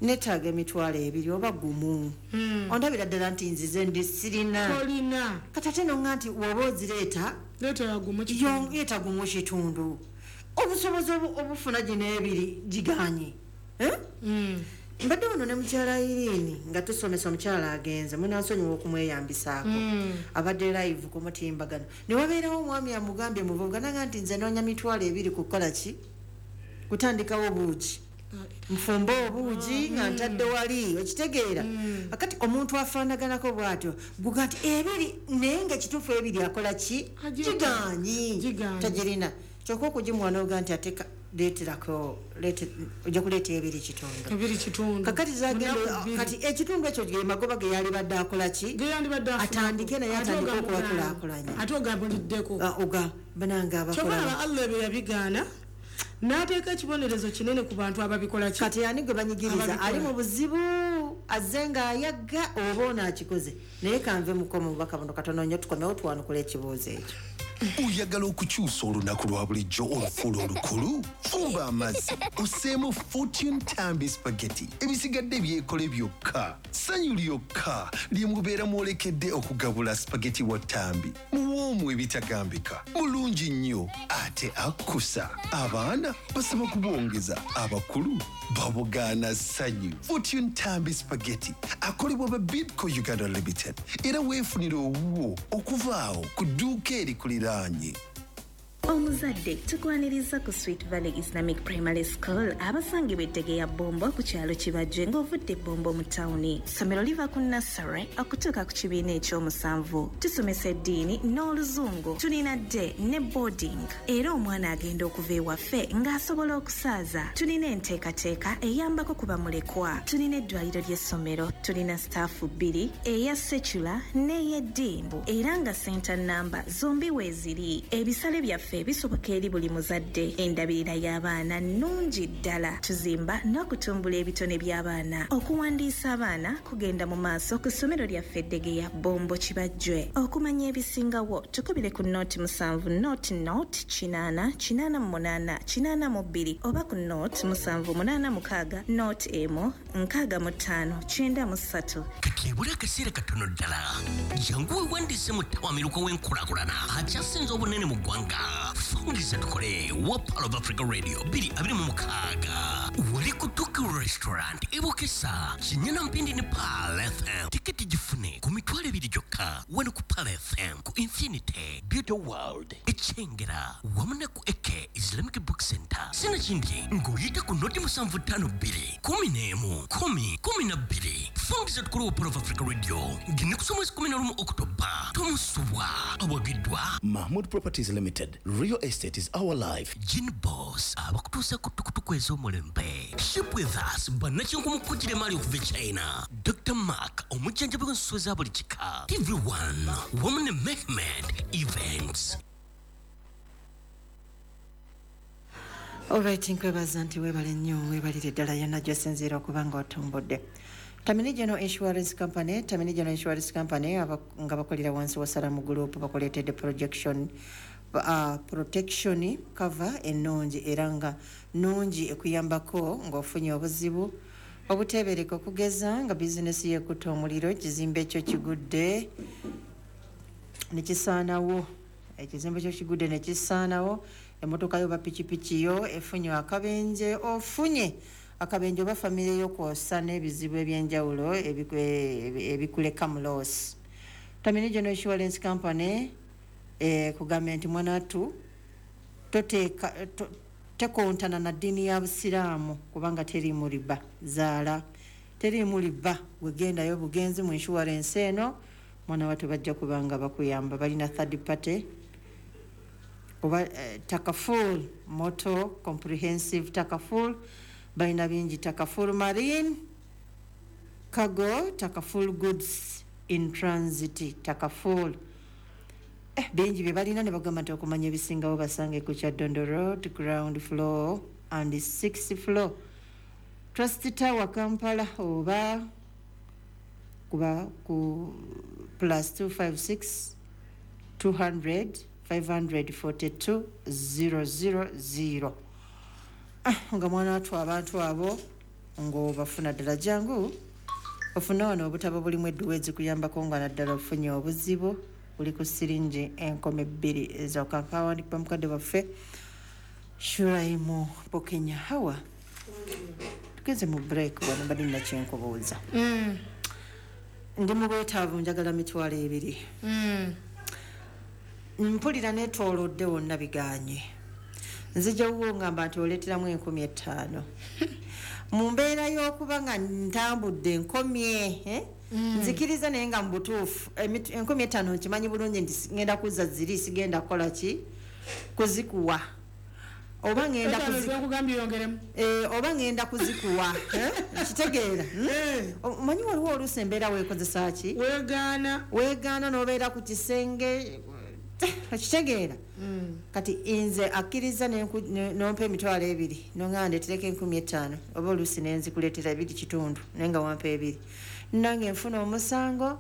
Neetaaga 20,000 oba 1. Ondabira ddala nti nzize ndi sirina. Tolina. Kati ate nonga nti bw'oba ozireeta, Leeta 1 kitundu. Leeta 1 kitundu. Obusobozi obufuna gino 2 giganye. Mbadde wano ne mukyala Irene nga tusomesa, omukyala agenze, munansonyiwa okumweyambisaako. Abadde live ku mutimbagano. Ne wabeerawo omwami amugambye muvubuka nanga nti nze noonya 20,000 kukola ki? Kutandikawo buugi. Nfumbe obuugi nga ntadde wali, okitegeera? Akati omuntu afaanaganako bw'atyo, guga nti 2, naye nga ekituufu 2 akola ki? Agireeta. Gigaanyi. Gigaanyi. Tagirina. Kyokka okugimuwa n'oga nti ate leeterako, ojja kuleeta 2 kitundu. 2 kitundu. Kakati zagenda Munaku bbiri. Kati ekitundu ekyo ge magoba ge yalibadde akola ki? Ge yandibadde afuna. Atandike naye Ate atandike ogamugaana. okubakulaakulanya. Ate ogabuliddeko. Ah, oga banange Kyokka abakola. laba Allah ebyo yabigaana n'ateeka ekibonerezo kinene ku bantu ababikola ki? Kati ani gwe banyigiriza? Ababikola. Ali mu buzibu azze ng'ayagga oba ono akikoze. Naye kanve muko mu bubaka buno katono nnyo, tukomewo twanukula ekibuuzo ekyo. Oyagala okukyusa olunaku lwa bulijjo olufuula olukulu? Fumba amazzi osseemu Fortune Tambi Spaghetti, ebisigadde byekole byokka. Ssanyu lyokka lye mubeera mwolekedde okugabula spaghetti wa Tambi, muwoomu ebitagambika, mulungi nnyo ate akkusa. Abaana basaba kubwongeza, abakulu babugaana ssanyu. Fortune Tambi Spaghetti akolebwa ba Bidco Uganda Limited, era weefunire owuwo okuva awo ku dduuka erikuliraanye. Omuzadde, tukwaniriza ku Sweet Valley Islamic Primary School abasangibwa ettege ya Bombo ku kyalo Kibajje ng'ovudde Bombo mu tawuni. Ssomero liva ku nursery okutuuka ku kibiina ekyomusanvu. Tusomesa eddiini n'Oluzungu. Tulina day ne boarding, era omwana agenda okuva ewaffe ng'asobola okusaaza. Tulina enteekateeka eyambako ku bamulekwa. Tulina eddwaliro ly'essomero. Tulina staff bbiri, eya secular n'ey'eddiini, era nga center namba zombi weeziri. Ebisale byaffe bisoboka eri buli muzadde. Endabirira y'abaana nnungi ddala. Tuzimba n'okutumbula ebitone by'abaana. Okuwandiisa abaana kugenda mu maaso ku ssomero lyaffe Eddegeya, Bombo, Kibajjwe. Okumanya ebisingawo tukubire ku 07 00 80 88 82 oba ku 0786 01. 65 93. Kati ebula akaseera katono ddala, jangu weewandiise mu ttawamiruka w'enkulaakulana akyasinze obunene mu ggwanga. Fungiza tukole wa Pearl of Africa Radio 2026 wali ku Tokyo Restaurant ebukesa Kinyana Mpindi ne Pearl FM. Tiketi gifune ku 20,000 gyokka wano ku Pearl FM, ku Infinity Beauty World Ekyengera wamu ne ku Eke Islamic Book Center. Sinakindi ng'oyita ku 0752 11 10 12. Fungiza tukole wa Pearl of Africa Radio ng'ennaku z'omwezi 11 Oktoba. Tomusubwa. Awagiddwa Mahmood Properties Limited. Real estate is our life. Gin Boss abakutuusa ku tukutuku ez'omulembe. Ship with us bannakinku emaali okuva e China. Dr Mark omujjanjabi w'ensolo za buli kika. TV1 wamu ne Mehmed Events. Alright, nkwebaza nti weebale nnyo, weebalire ddala yonna gy'osinziira okuba nga otumbudde. Tamini General Insurance Company, Tamini General Insurance Company nga bakolera wansi wa Salamu Group bakuleetedde protection cover ennungi era nga nnungi ekuyambako ng'ofunye obuzibu obuteebereka, okugeza nga bizinesi yeekutta omuliro, ekizimbe ekyo kigudde ne kisaanawo, ekizimbe kyo kigudde ne kisaanawo, emmotoka yo oba pikipiki yo efunye akabenje, ofunye akabenje oba famire yo kw'ossa n'ebizibu ebyenjawulo ebikuleka mu loss. Tamini General Insurance Company kugambye nti mwanatu tekontana na ddiini ya Busiraamu kubanga teriimu riba, zaala teriimu riba. Wegendayo bugenzi mu insurance eno, mwana watu bajja kubanga bakuyamba. Balina third party oba takaful motor comprehensive takaful, balina bingi, takaful marine cargo, takaful goods in transit, takaful bingi bye balina. Ne bagamba nti okumanya ebisingawo basange ku Kyadondo Road, ground floor and 6th floor, Trust Tower Kampala, oba kuba ku +256 200 542 000. Nga mwana watu abantu abo ng'obafuna ddala, jangu ofune wano obutabo bulimu edduwa ezikuyambako nga naddala ofunye obuzibu buli ku siringi 2,000 ez'okankawandikibwa mukadde waffe Shuraimu Bukenya. Hawa tugenze mu break wano, mbadde nina kyenkubuuza. Ndi mu bwetaavu, njagala 20,000. Mpulira neetoolodde wonna biganye. Nzija wuwo ngamba nti oleeteramu 5,000. Mu mbeera y'okuba nga ntambudde nkomye, nzikiriza naye nga mu butuufu 5,000 nkimanyi bulungi nti ngenda kuzza ziri, sigenda kukola ki kuzikuwa, oba ngenda oba ngenda kuzikuwa, kitegeera. Omanyi waliwo oluusi embeera weekozesa ki, weegaana n'obeera ku kisenge, kitegeera. Kati nze akkiriza nompa 20,000 nongamba ndeetereko 5,000 oba oluusi nenzikuleetera 2.5 naye nga wampa 2, nange nfuna omusango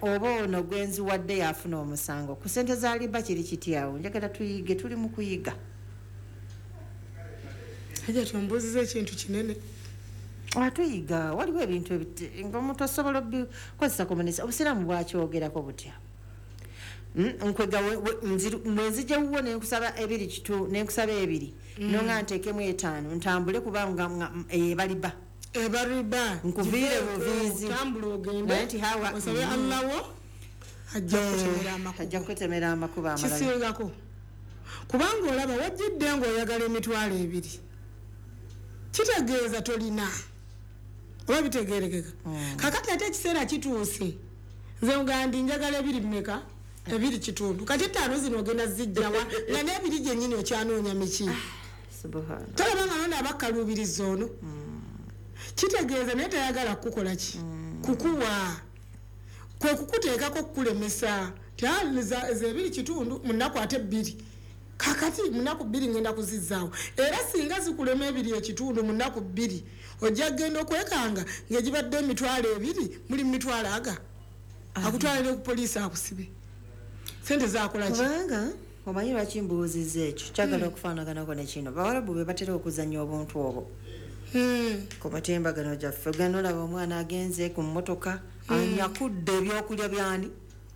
oba ono gwenziwadde yafuna omusango ku sente za riba. Kiri kityawo, njagala tuyige, tuli mu kuyiga. Ajja tumbuuziza ekintu kinene. Atuyiga, waliwo ebintu nga omuntu osobola obikozesa komunisa. Obusiraamu bwakyogerako butya? Nkwega mwenzija wuwo nenkusaba 2 nenkusaba 2 nonga nteekemu 5 ntambule kubanga ebaliba ebariba nkuviire buviizi, tambula ogende nti hawa osabe Allah wo ajja kukutemera amakubo amalala. Kisingako kubanga olaba wajjidde ng'oyagala 20,000, kitegeeza tolina, oba bitegeerekeka. Kakati ate ekiseera kituuse, nze ngandi njagala 2 mmeka 2.5, kati 5 zino ogenda zijjawa nga n'ebiri gyennyini okyanoonya miki. Tolaba nga nona abakaluubiriza ono, kitegeeza naye tayagala kukukola ki, kukuwa, kwe kukuteekako okukulemesa ti ze 2.5 mu nnaku ate 2, kakati mu nnaku 2 ngenda kuzizzaawo. Era singa zikulema 2.5 mu nnaku 2, ojja kugenda okwekanga ng'egibadde 20,000 muli 20,000 aga akutwalire ku poliisi akusibe. Sente zakola ki? Kubanga omanyi lwaki mbuuzizza ekyo, kyagala okufaanaganako ne kino. Bawarabu be batera okuzannya obuntu obwo. Ku mitimbagano gyaffe ogenda olaba omwana agenze ku mmotoka, anyakudde ebyokulya byani?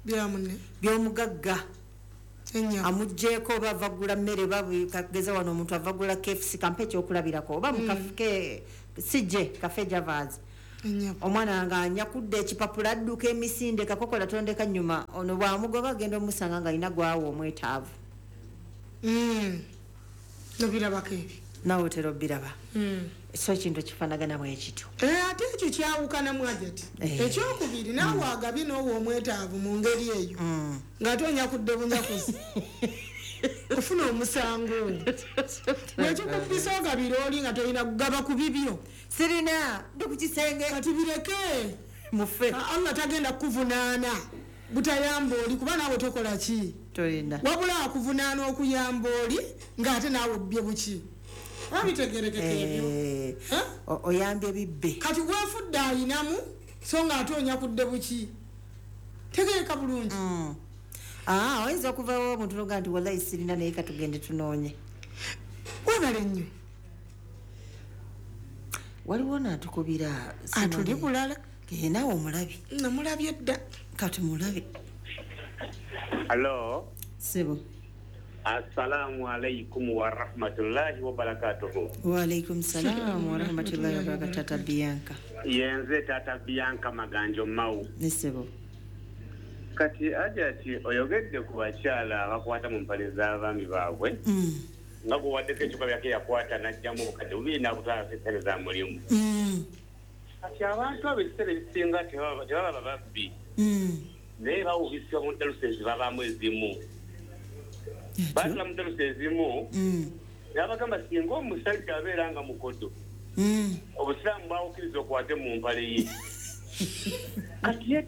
Byamunne. By'omugagga. Ennyama. Amuggyeeko oba avagula mmere, oba kageza wano omuntu avagula KFC, kampe ekyokulabirako, oba mukafe CJ Cafe Javas. Ennyama. Omwana nga anyakudde ekipapula, adduka emisinde, kakokola tondeka nyuma. Ono bw'amugoba, agenda omusanga nga alina gwawa omwetaavu. Nobirabako ebyo. Naawe otera obiraba. So ekintu ekifaanagana bwe kityo. Ate ekyo kyawukanamu, Ajati. Eh. Ekyokubiri, naawe agabye n'owa omwetaavu mu ngeri eyo, ng'ate onyakudde bunyakuzi, ofuna omusango. Bwekikubbisa ogabira oli nga tolina kugaba ku bibyo. Sirina, ndi ku kisenge. Kati bireke. Mufe. Allah tagenda kukuvunaana butayamba oli, kuba naawe tokola ki? Tolina. Wabula akuvunaana okuyamba oli ng'ate naawe obbye buki. Oba bitegerekeka ebyo? Eh, Eh? oyambye bibbe. Kati wefudde ayinamu, so ng'ate onyakudde buki. Tegereka bulungi. Ah, oyinza okuvawo omuntu noga nti wallahi sirina, naye katugende tunoonye. Webale nnyo. Waliwo naatukubira. Atuli bulala. Naawe omulabi. Namulabye dda. Kati mulabe. Halo, Sebo. assalamu alaikum warahmatullahi wabarakatuhu. Waalaikum salam warahmatullahi wabarakatu, Tata Bianca. Yenze Tata Bianca Maganjo Mau. Nesebo. Kati Ajati, oyogedde ku bakyala abakwata mu mpale z'abaami baabwe, nga guwaddeko ekyuka byake yakwata n'ajjamu obukadde 2 n'akutwala sente za mulimu. Kati abantu abo ebiseera ebisinga tebaba babbi, naye bawubisibwa mu ddalusa ezibabaamu ezimu. Batula mu ddalusa ezimu nabagamba singa omusajja abeera nga mukodo, obusiraamu bwawukiriza okwate mu mpale ye. Kati ye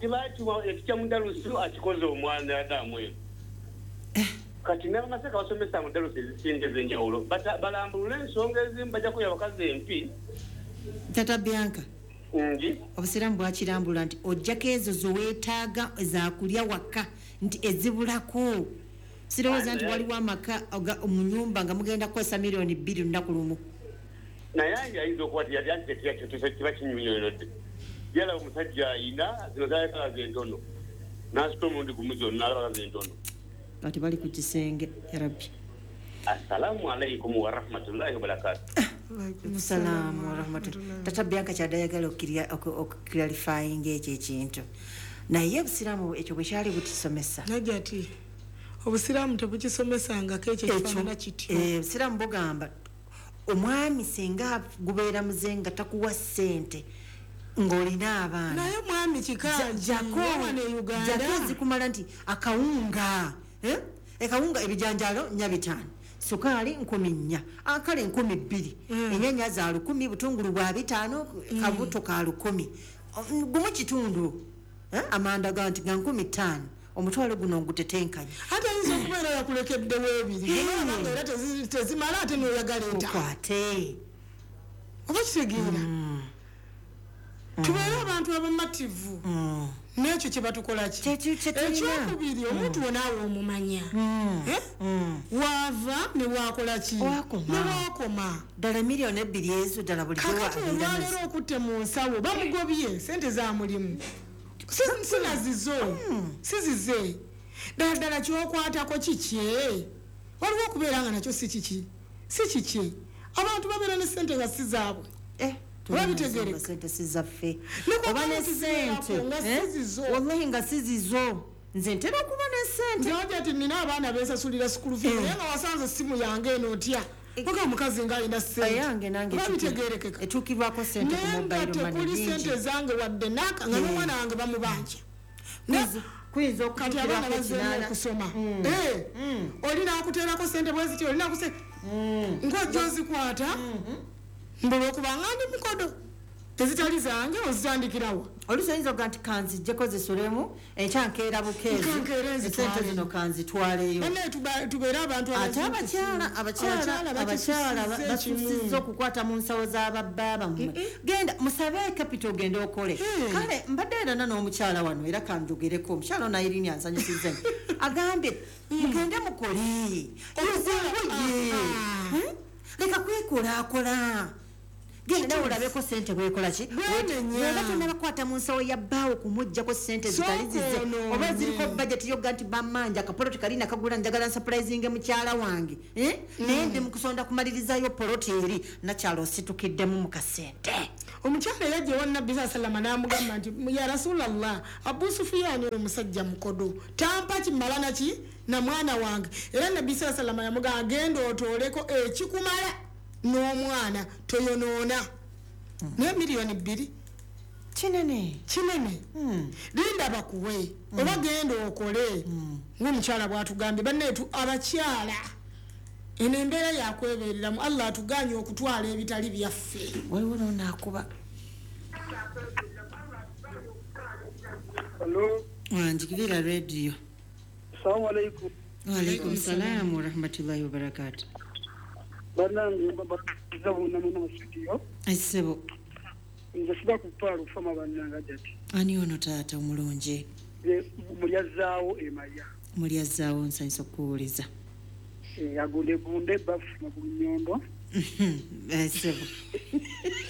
tebakiwa ekikya mudalusu akikoze omwana adamu eyo. Kati n'abamaseka basomesa mu dalusu ezisinga ez'enjawulo balambulule ensonga ezimu, bajja kuya abakazi empi. Tata Bianca. Ngi. Obusiraamu bwakirambula nti ojjako ezo zoweetaaga zakulya waka, nti ezibulako. Sirowooza nti waliwo amaka mu nyumba nga mugenda kukozesa miliyoni 2 lunaku lumu. Naye ange ayinza okuba kiba kinyunyonodde, yalaba omusajja ayina zino zayagala zentono, n'asita omulundi gumu zonna alaba zentono. Kati bali ku kisenge, yarabbi. Assalamu alaikum warahmatullahi wabarakatu. Salaamu warahmatullahi. Tata Bianca kyadde ayagala okuclarifyinga ekyo ekintu, naye obusiraamu ekyo bwe kyali butusomesa. Najati, obusiraamu tebukisomesangako ekyo kifaanana kityo. Eh, obusiraamu bugamba omwami singa gubeera muze nga takuwa ssente ng'olina abaana, Naye mwami kikaji jako wano e Uganda. Jako ezikumala, nti akawunga, eh? Ekawunga, ebijanjalo 4 5, sukaali 4,000, akale 2,000, enyanya za 1,000, butungulu bwa 500, kabuto ka 1,000, 1.5, eh? Amanda ga nti ga 5,000, omutwalo guno ngutetenkanye. Ate ayinza okubeera yakulekeddewo ebiri olaba nga era tezimala, ate noyagala etaano. Okwate. Oba kitegeera, tubeere abantu abamativu n'ekyo kye batukola ki. Kye tulina. Ekyokubiri, omuntu wo naawe omumanya. Eh? Waava ne wakola ki? Wakoma. Ne wakoma. Ddala miliyoni 2 ezo ddala bulijjo Kakati abeera olwaleero nazo. okutte mu nsawo, bamugobye sente za mulimu. Sinazizo, sizize ddala ddala. Kyokwatako kikye? Waliwo okubeera nga nakyo si kiki, si kikye. Abantu babeera ne sente nga si zaabwe. Eh, Oba bitegereka? Sente si zaffe. Ne bw'oba Oba ne nti zibeerako sente nga eh? si zizo. Wallahi nga si zizo, nze ntera okuba ne sente. Nti ati nina abaana bensasulira school fees, naye nga wasanze simu yange eno otya oga omukazi nga alina sente. Eyange nange Oba bitegerekeka? etuukibwako sente ku Naye nga mobile money tekuli nyingi. sente zange wadde naka, nga n'omwana wange bamubanja. Kuyinza Kati abaana okutuukirwako bazzeemu 8. okusoma. Eh, oli nakuteerako sente bweziti, oli nakuse nkojja ozikwata mbula okubanga ndi mukodo, ezitali zange ozitandikirawa? Oluusi oyinza okuga nti kanzijjeko zisulemu, enkya nkeera bukeezi, Nkankeera nzitwale. esente zino kanzitwaleyo. Bannaye, tubeere abantu Ate abazuukufu. abakyala abakyala basusizza okukwata mu nsawo z'ababba bammwe. Genda musabe capital, ogende okole. Kale mbadde erana n'omukyala wano, era kanjogereko omukyala ono Irene ansanyusiza nnyo. Agambye mugende mukole engoye. Leka kwekolaakola. Genda nawe olabeko sente bwekola ki? Bweba tonnabakwata mu nsawo ya bbaawo kumuggyako sente zitali zize, oba ziriko budget yogga nti bammanja akapoloti kali nakagula, njagala nsurprisinge mukyala wange, eh? Naye ndi mu kusonda kumalirizayo poloti eri, nakyalo ositukiddemu mu kasente. Omukyala yajja ewa Nabbi saa salama n'amugamba nti, ya Rasulallah, Abu Sufiyaani oyo musajja mukodo, tampa kimala naki na mwana wange. Era Nabbi saa salama yamugamba, genda otooleko ekikumala n'omwana, toyonoona. Naye 2 million kinene. Kinene. Linda bakuwe, oba genda okole ng'omukyala bw'atugambye. Banneetu abakyala, eno embeera yakwebereramu. Allah atuganye okutwala ebitali byaffe. Waliwo nonaakuba. Hello. Wanjikirira rediyo. Assalamu alaikum. Waalaikum salaamu warahmatullahi wabarakatu. Bannange, mbabaza bonna muna mu studio. Essebo. Nze siba kutwala okufama, bannange, ajati. Ani ono, taata omulungi? Mulyazaawo emaya. Mulyazaawo, nsanyusa okukuwuliza. Agundegunde bafu magulu. Essebo.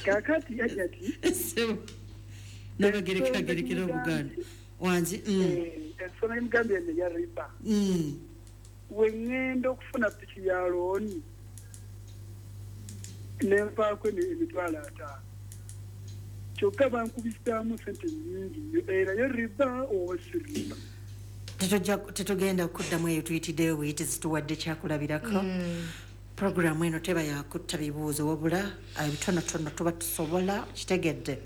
Kakati ajati. Essebo, nabagereka gerekera obuganda wangi. Ensonga emugambye eno ya riba. Weŋŋenda okufuna piki ya loan, nenfaako 50,000, kyokka bankubisaamu sente nnyingi nnyo. Era yo riba oba si riba? Tetugenda kuddamu eyo, tuyitiddeyo buyitizi, tuwadde kyakulabirako. Puroguramu eno teba yakutta bibuuzo, wabula ebitonotono tuba tusobola kitegedde.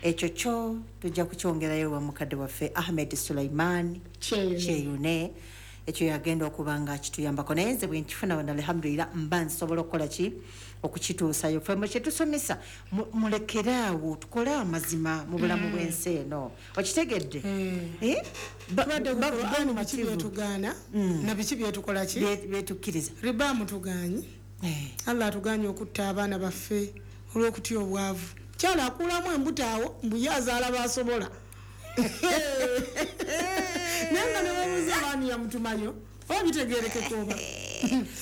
Ekyo kyo tujja kukyongerayo wa mukadde waffe Ahmed Sulaiman Kyeyune, ekyo yagenda okuba nga akituyambako. Naye nze bwe nkifuna wano, alhamdulillah, mba nsobola okukola ki okukituusayo. Ffe mwe kyetusomesa, mulekeraawo tukole amazima mu bulamu bw'ensi eno, okitegedde? Eh? Tubadde ku Qur'ani, biki byetugaana na biki byetukola ki? Byetukkiriza. Riba mutugaanyi. Allah atuganye okutta abaana baffe olw'okutya obwavu. Kyala akuulamu embuto awo, mbu ye azaala basobola, naye nga newebuuza abaani yamutumayo, oba bitegerekeka oba?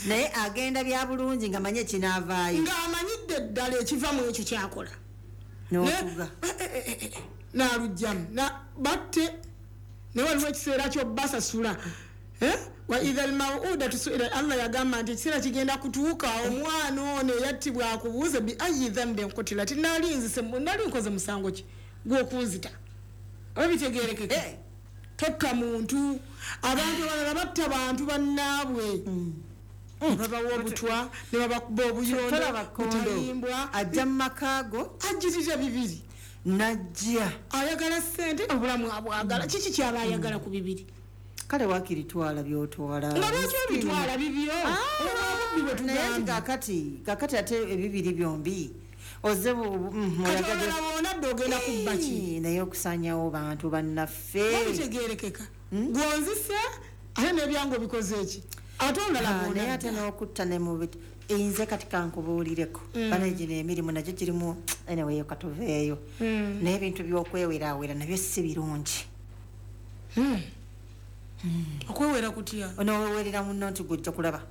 Naye agenda bya bulungi nga manye kinaavaayo. Ng'amanyidde ddala ekiva mu ekyo kyakola. N'otuga. N'alugjamu batte, naye waliwo ekiseera kyobasasula. Wa idha almauudatu suila, Allah yagamba nti ekiseera kigenda kutuuka omwana ono eyattibwa akubuuze, bi ayi dhambin kutila, ti nali nzise, nali nkoze musango ki gw'okunzita? Oba bitegerekeka? Totta muntu. Abantu abalala batta bantu bannaabwe, ne babawa obutwa, ne babakuba obuyondo. Tolaba kondo. Butayimbwa. Ajja mu makaago. Ajjirira bibiri. Najja. Ayagala ssente, obulamu abwagala. Kiki kyaba ayagala ku bibiri? Kale wakiri twala byotwala. Nga lwaki obitwala bibyo? Obubbi bwe Naye nti tugambye. Kakati ate ebibiri byombi oze Kati olala woonadde ogenda kubba ki? Naye okusanyawo bantu bannaffe. Babitegerekeka, gwonzise ate n'ebyange obikoze eki? Ate olala Ah, naye ate bwonadda. n'okutta ne mubi. Nze kati kankubuulireko, bana, gino emirimu nagyo girimu. Anyway, katuveeyo. Naye ebintu by'okwewerawera nabyo si birungi. Okwewera kutya? Onoowewerera munno nti gujja kulaba.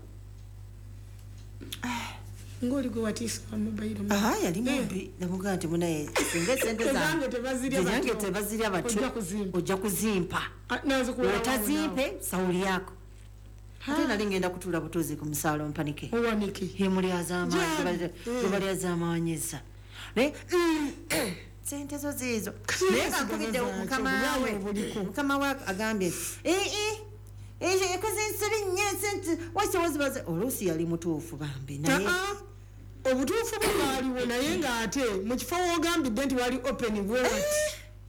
Ngaoli gwe watiisa wa mobile. Aha, yali mumbi, namugamba nti munaye, singa esente Ezange tebazirya zange batyo. tebazirya batyo. Ojja kuzimpa. Ojja kuzimpa. Nanze kulaba. Otazimpe sawuli yako. Ate nali ngenda kutuula butuuzi ku musaalo mpanike. Owanike. Hemuli Jani. azamaanyiza naye sente zo ziizo. Naye nga nkubidde mukama we, mukama we agambye, "Eh, ekoze ensobi nnyo, sente waki wazibaze?" Oluusi yali mutuufu bambi, naye Aa, obutuufu bwe bwaliwo, naye ng'ate mu kifo woogambidde nti wali open bwewati,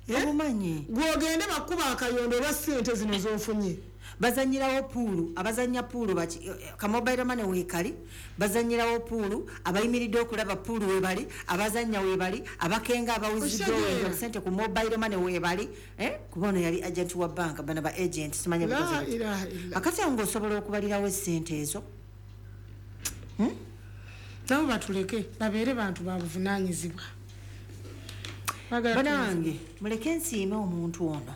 obumanyi. Gwogende bakuba akayondo olwa ssente zino z'ofunye. Bazanyirawo pool, abazanya pool baki, ka mobile money weekali, bazanyirawo pool, abayimiridde okulaba pool webali, abazanya webali, abakenga abawizidde Oshagera. sente ku mobile money webali, eh? Kuba ono yali agent wa bank, bana ba agent simanya La bikoze bitya. ilaha illa. Akati awo ng'osobola okubalirawo esente ezo. Nabo batuleke babeere bantu babuvunaanyizibwa. Baagala. Banange, muleke nsiime omuntu ono.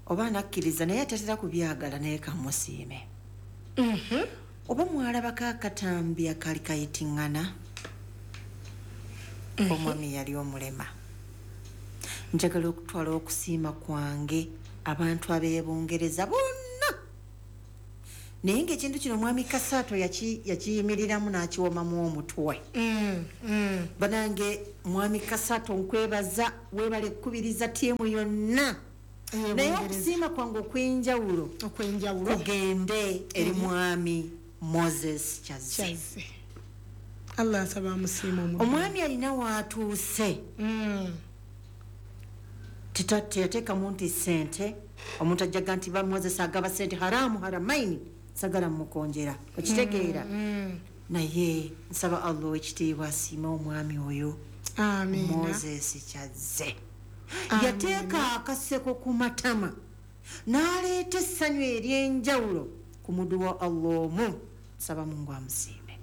Oba nakkiriza, naye atatera kubyagala, naye kamusiime. Oba mwalabako akatambi akaali kayitiŋŋana, omwami yali omulema. Njagala okutwala okusiima kwange abantu ab'ebungereza bonna, naye ng'ekintu kino mwami Kasaato yakiyimiriramu n'akiwomamu omutwe. Banange, mwami Kasaato, nkwebaza, weebale kukubiriza ttiimu yonna, naye okusiima kwange okw'enjawulo okwenjawulo kugende eri mwami Moses Kyazze. Kyazze, Allah asaba amusiima omulungi. Omwami alina waatuuse. Teyateekamu nti sente, omuntu ajjaga nti ba Moses agaba sente haramu haramaini, sagala mukonjera, okitegeera? Naye nsaba Allah owekitiibwa asiime omwami oyo. Amiina. Moses Kyazze yateeka akaseko ku matama n'aleeta essanyu ery'enjawulo ku muddu wa Allah omu. Nsaba Mungu amusiime.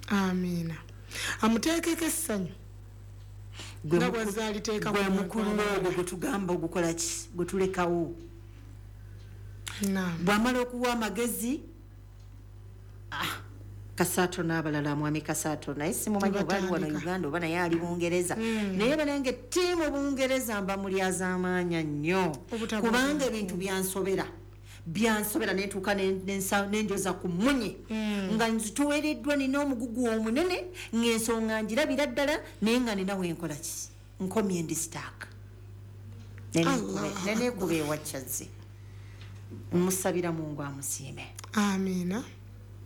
Amiina, amuteekeko essanyu Gwe nga bwazaaliteeka gwe ku mukululo bantu. Ogwo gwe tugamba ogukola ki, gwe tulekawo. Naam. Bw'amala okuwa amagezi, Kasaato n'abalala, mwami Kasaato naye simumanyi oba ali wano Tebatandika. Uganda oba naye ali Bungereza, naye banange ttiimu Bungereza mba mulyazaamaanya nnyo. Obutabuuza. Kubanga ebintu byansobera, byansobera, netuuka nenjoza ku munye nga nzitowereddwa, nina omugugu omunene, ng'ensonga njirabira ddala, naye nga nina wenkola ki, nkomye ndi sitaaka. Allah. Neneekuba ewakyaze, musabira Mungu amusiime. Amiina.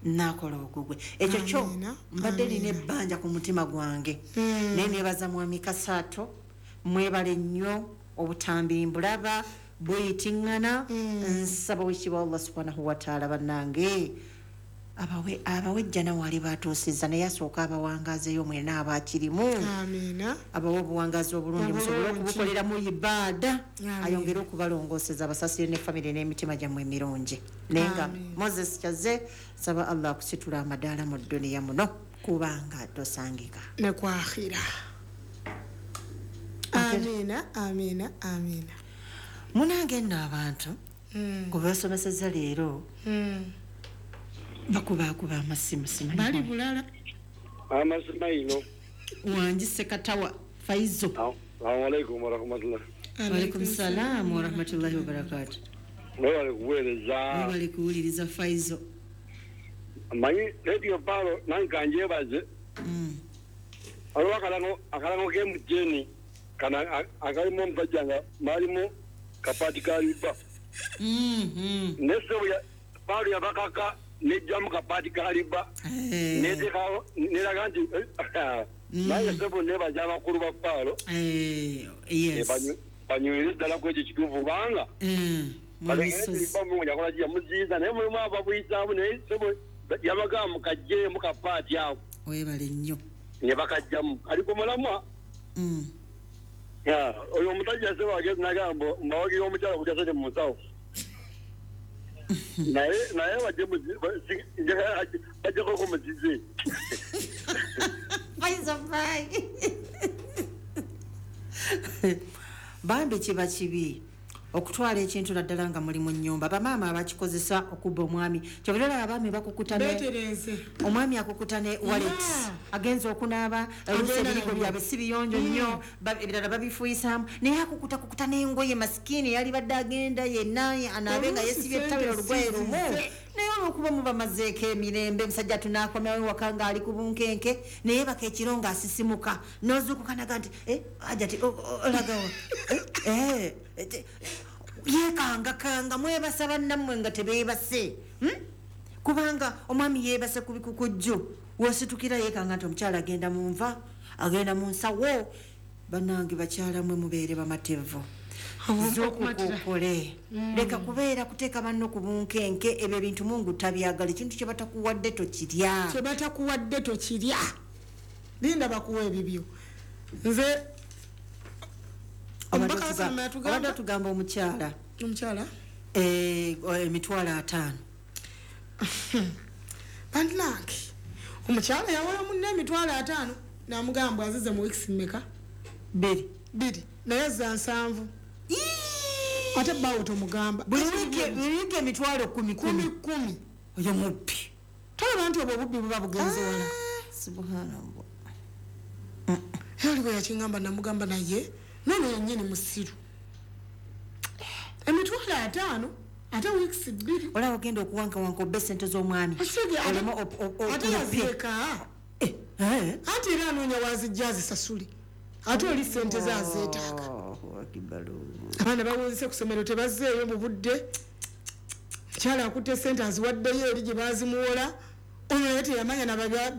Nakola ogugwe ekyo kyo. Amiina, Mbadde nina amiina. ebbanja ku mutima gwange, naye nebaza mwami Kasaato, mwebale nnyo, obutambi mbulaba buyitiŋŋana. Nsaba wekitiibwa Allah subhanahu wataala, bannange, abawe abawe ejjana waali batuusiza, naye asooka abawangazeeyo mwena abakirimu. Amiina. Abawe obuwangazi obulungi musobole Obulungi. okubukoleramu ibaada. Amiina. Ayongere okubalongooseza, abasasire ne famire n'emitima gyammwe emirungi. Naye nga Amiina. Moses Kyaze, nsaba Allah akusitula amadaala mu dduniya muno, kubanga tosangika. Ne kwakhira. Amiina, amiina, amiina. Munange nno, abantu gwe basomeseza leero bakubakuba amasimu, simanyi. Bali bulala. Amazima ino. Wangi, Sekatawa Faizo. Assalamu alaikum warahmatullah. Waalaikum salaamu warahmatullahi wabarakatu. Mwebale kuweereza. Webale kuwuliriza, Faizo. Manyi Radio Palo nange kanjebaze. Waliwo akalango k'emujeni kana akalimu omusajja nga malimu kapaati ka riba. Ne ssebo Palo yabakaka nejjamu kapaati ka riba. Neteekawo neraga nti nange ssebo nebaza abakulu ba Palo. Yes. Banywere ddala ku ekyo kituufu kubanga Mwami Sozi. yakola ki, yamuziiza, naye mulimu ababuyisaamu, naye ssebo yabagamba mukajjeemu kapaati ako. Webale nnyo. Ne bakajjamu aliko mulamwa. Ya, oyo omusajja ssebo agezi nagamba mbawagira omukyala okujja sente mu nsawo, naye bajje bajjekoko muzize. Faizo, bye. Bambi, kiba kibi okutwala ekintu naddala nga muli mu nnyumba. Bamaama abakikozesa okubba omwami, kyobulala abaami bakukuta Beetereeze. Omwami akukuta ne wallet, agenza okunaaba, oluusi Agenda ebirigo nabyo. byabwe si biyonjo nnyo, ebirala babifuuyisaamu, naye akukuta kukuta n'engoye. Masikini yalibadde agenda yenna anaabe nga Oluusi yeesibye ettawero sente olugoye lumu, sizize. naye olwokuba mubamazeeko emirembe, musajja tunaakomawo ewaka ng'ali ku bunkenke, naye baka ekiro ng'asisimuka, n'ozuukuka naga nti, "Eh, aja ti olagawa?" Eh, eh, yeekangakanga mwebasa bannammwe nga tebeebase. Kubanga omwami yeebase ku bikukujju, wositukira yeekanga nti omukyala agenda mu nva, agenda mu nsawo. Bannange, bakyala mwe, mubeere bamativu. Zuukuka okole, leka kubeera kuteeka banno ku bunkenke. Ebyo ebintu Mungu tabyagala. Ekintu kye batakuwadde tokirya. Kye batakuwadde tokirya, linda bakuwa ebibyo. Nze Obadde omubaka wasoma yatugamba obadde otugamba omukyala. Omukyala. 50,000. Bannange, omukyala yawola munne 50,000, namugamba azize mu wiikisi mmeka? 2. 2, naye azza 70. Ate bbaawe tomugamba. Buli wiiki 10,000 10,000. 10,000. Oyo mubbi. Tolaba nti obwo obubbi buba bugenze wala? Subhanallah. Era oli bwe yakiŋŋamba, namugamba, naye nono yennyini musiru, 50,000 ate weeks 2. Olaba ogenda okuwankawanka obba esente z'omwami. Oleme Ate olope. Yazieka anti era anoonya wazijja azisasule, ate oli sente ze azeetaaga. Allahu akbar. Abaana bawunzise ku ssomero, tebazzeeyo mu budde. Mukyala akutte sente aziwaddeyo eri gye bazimuwola, ono naye teyamanya nabye.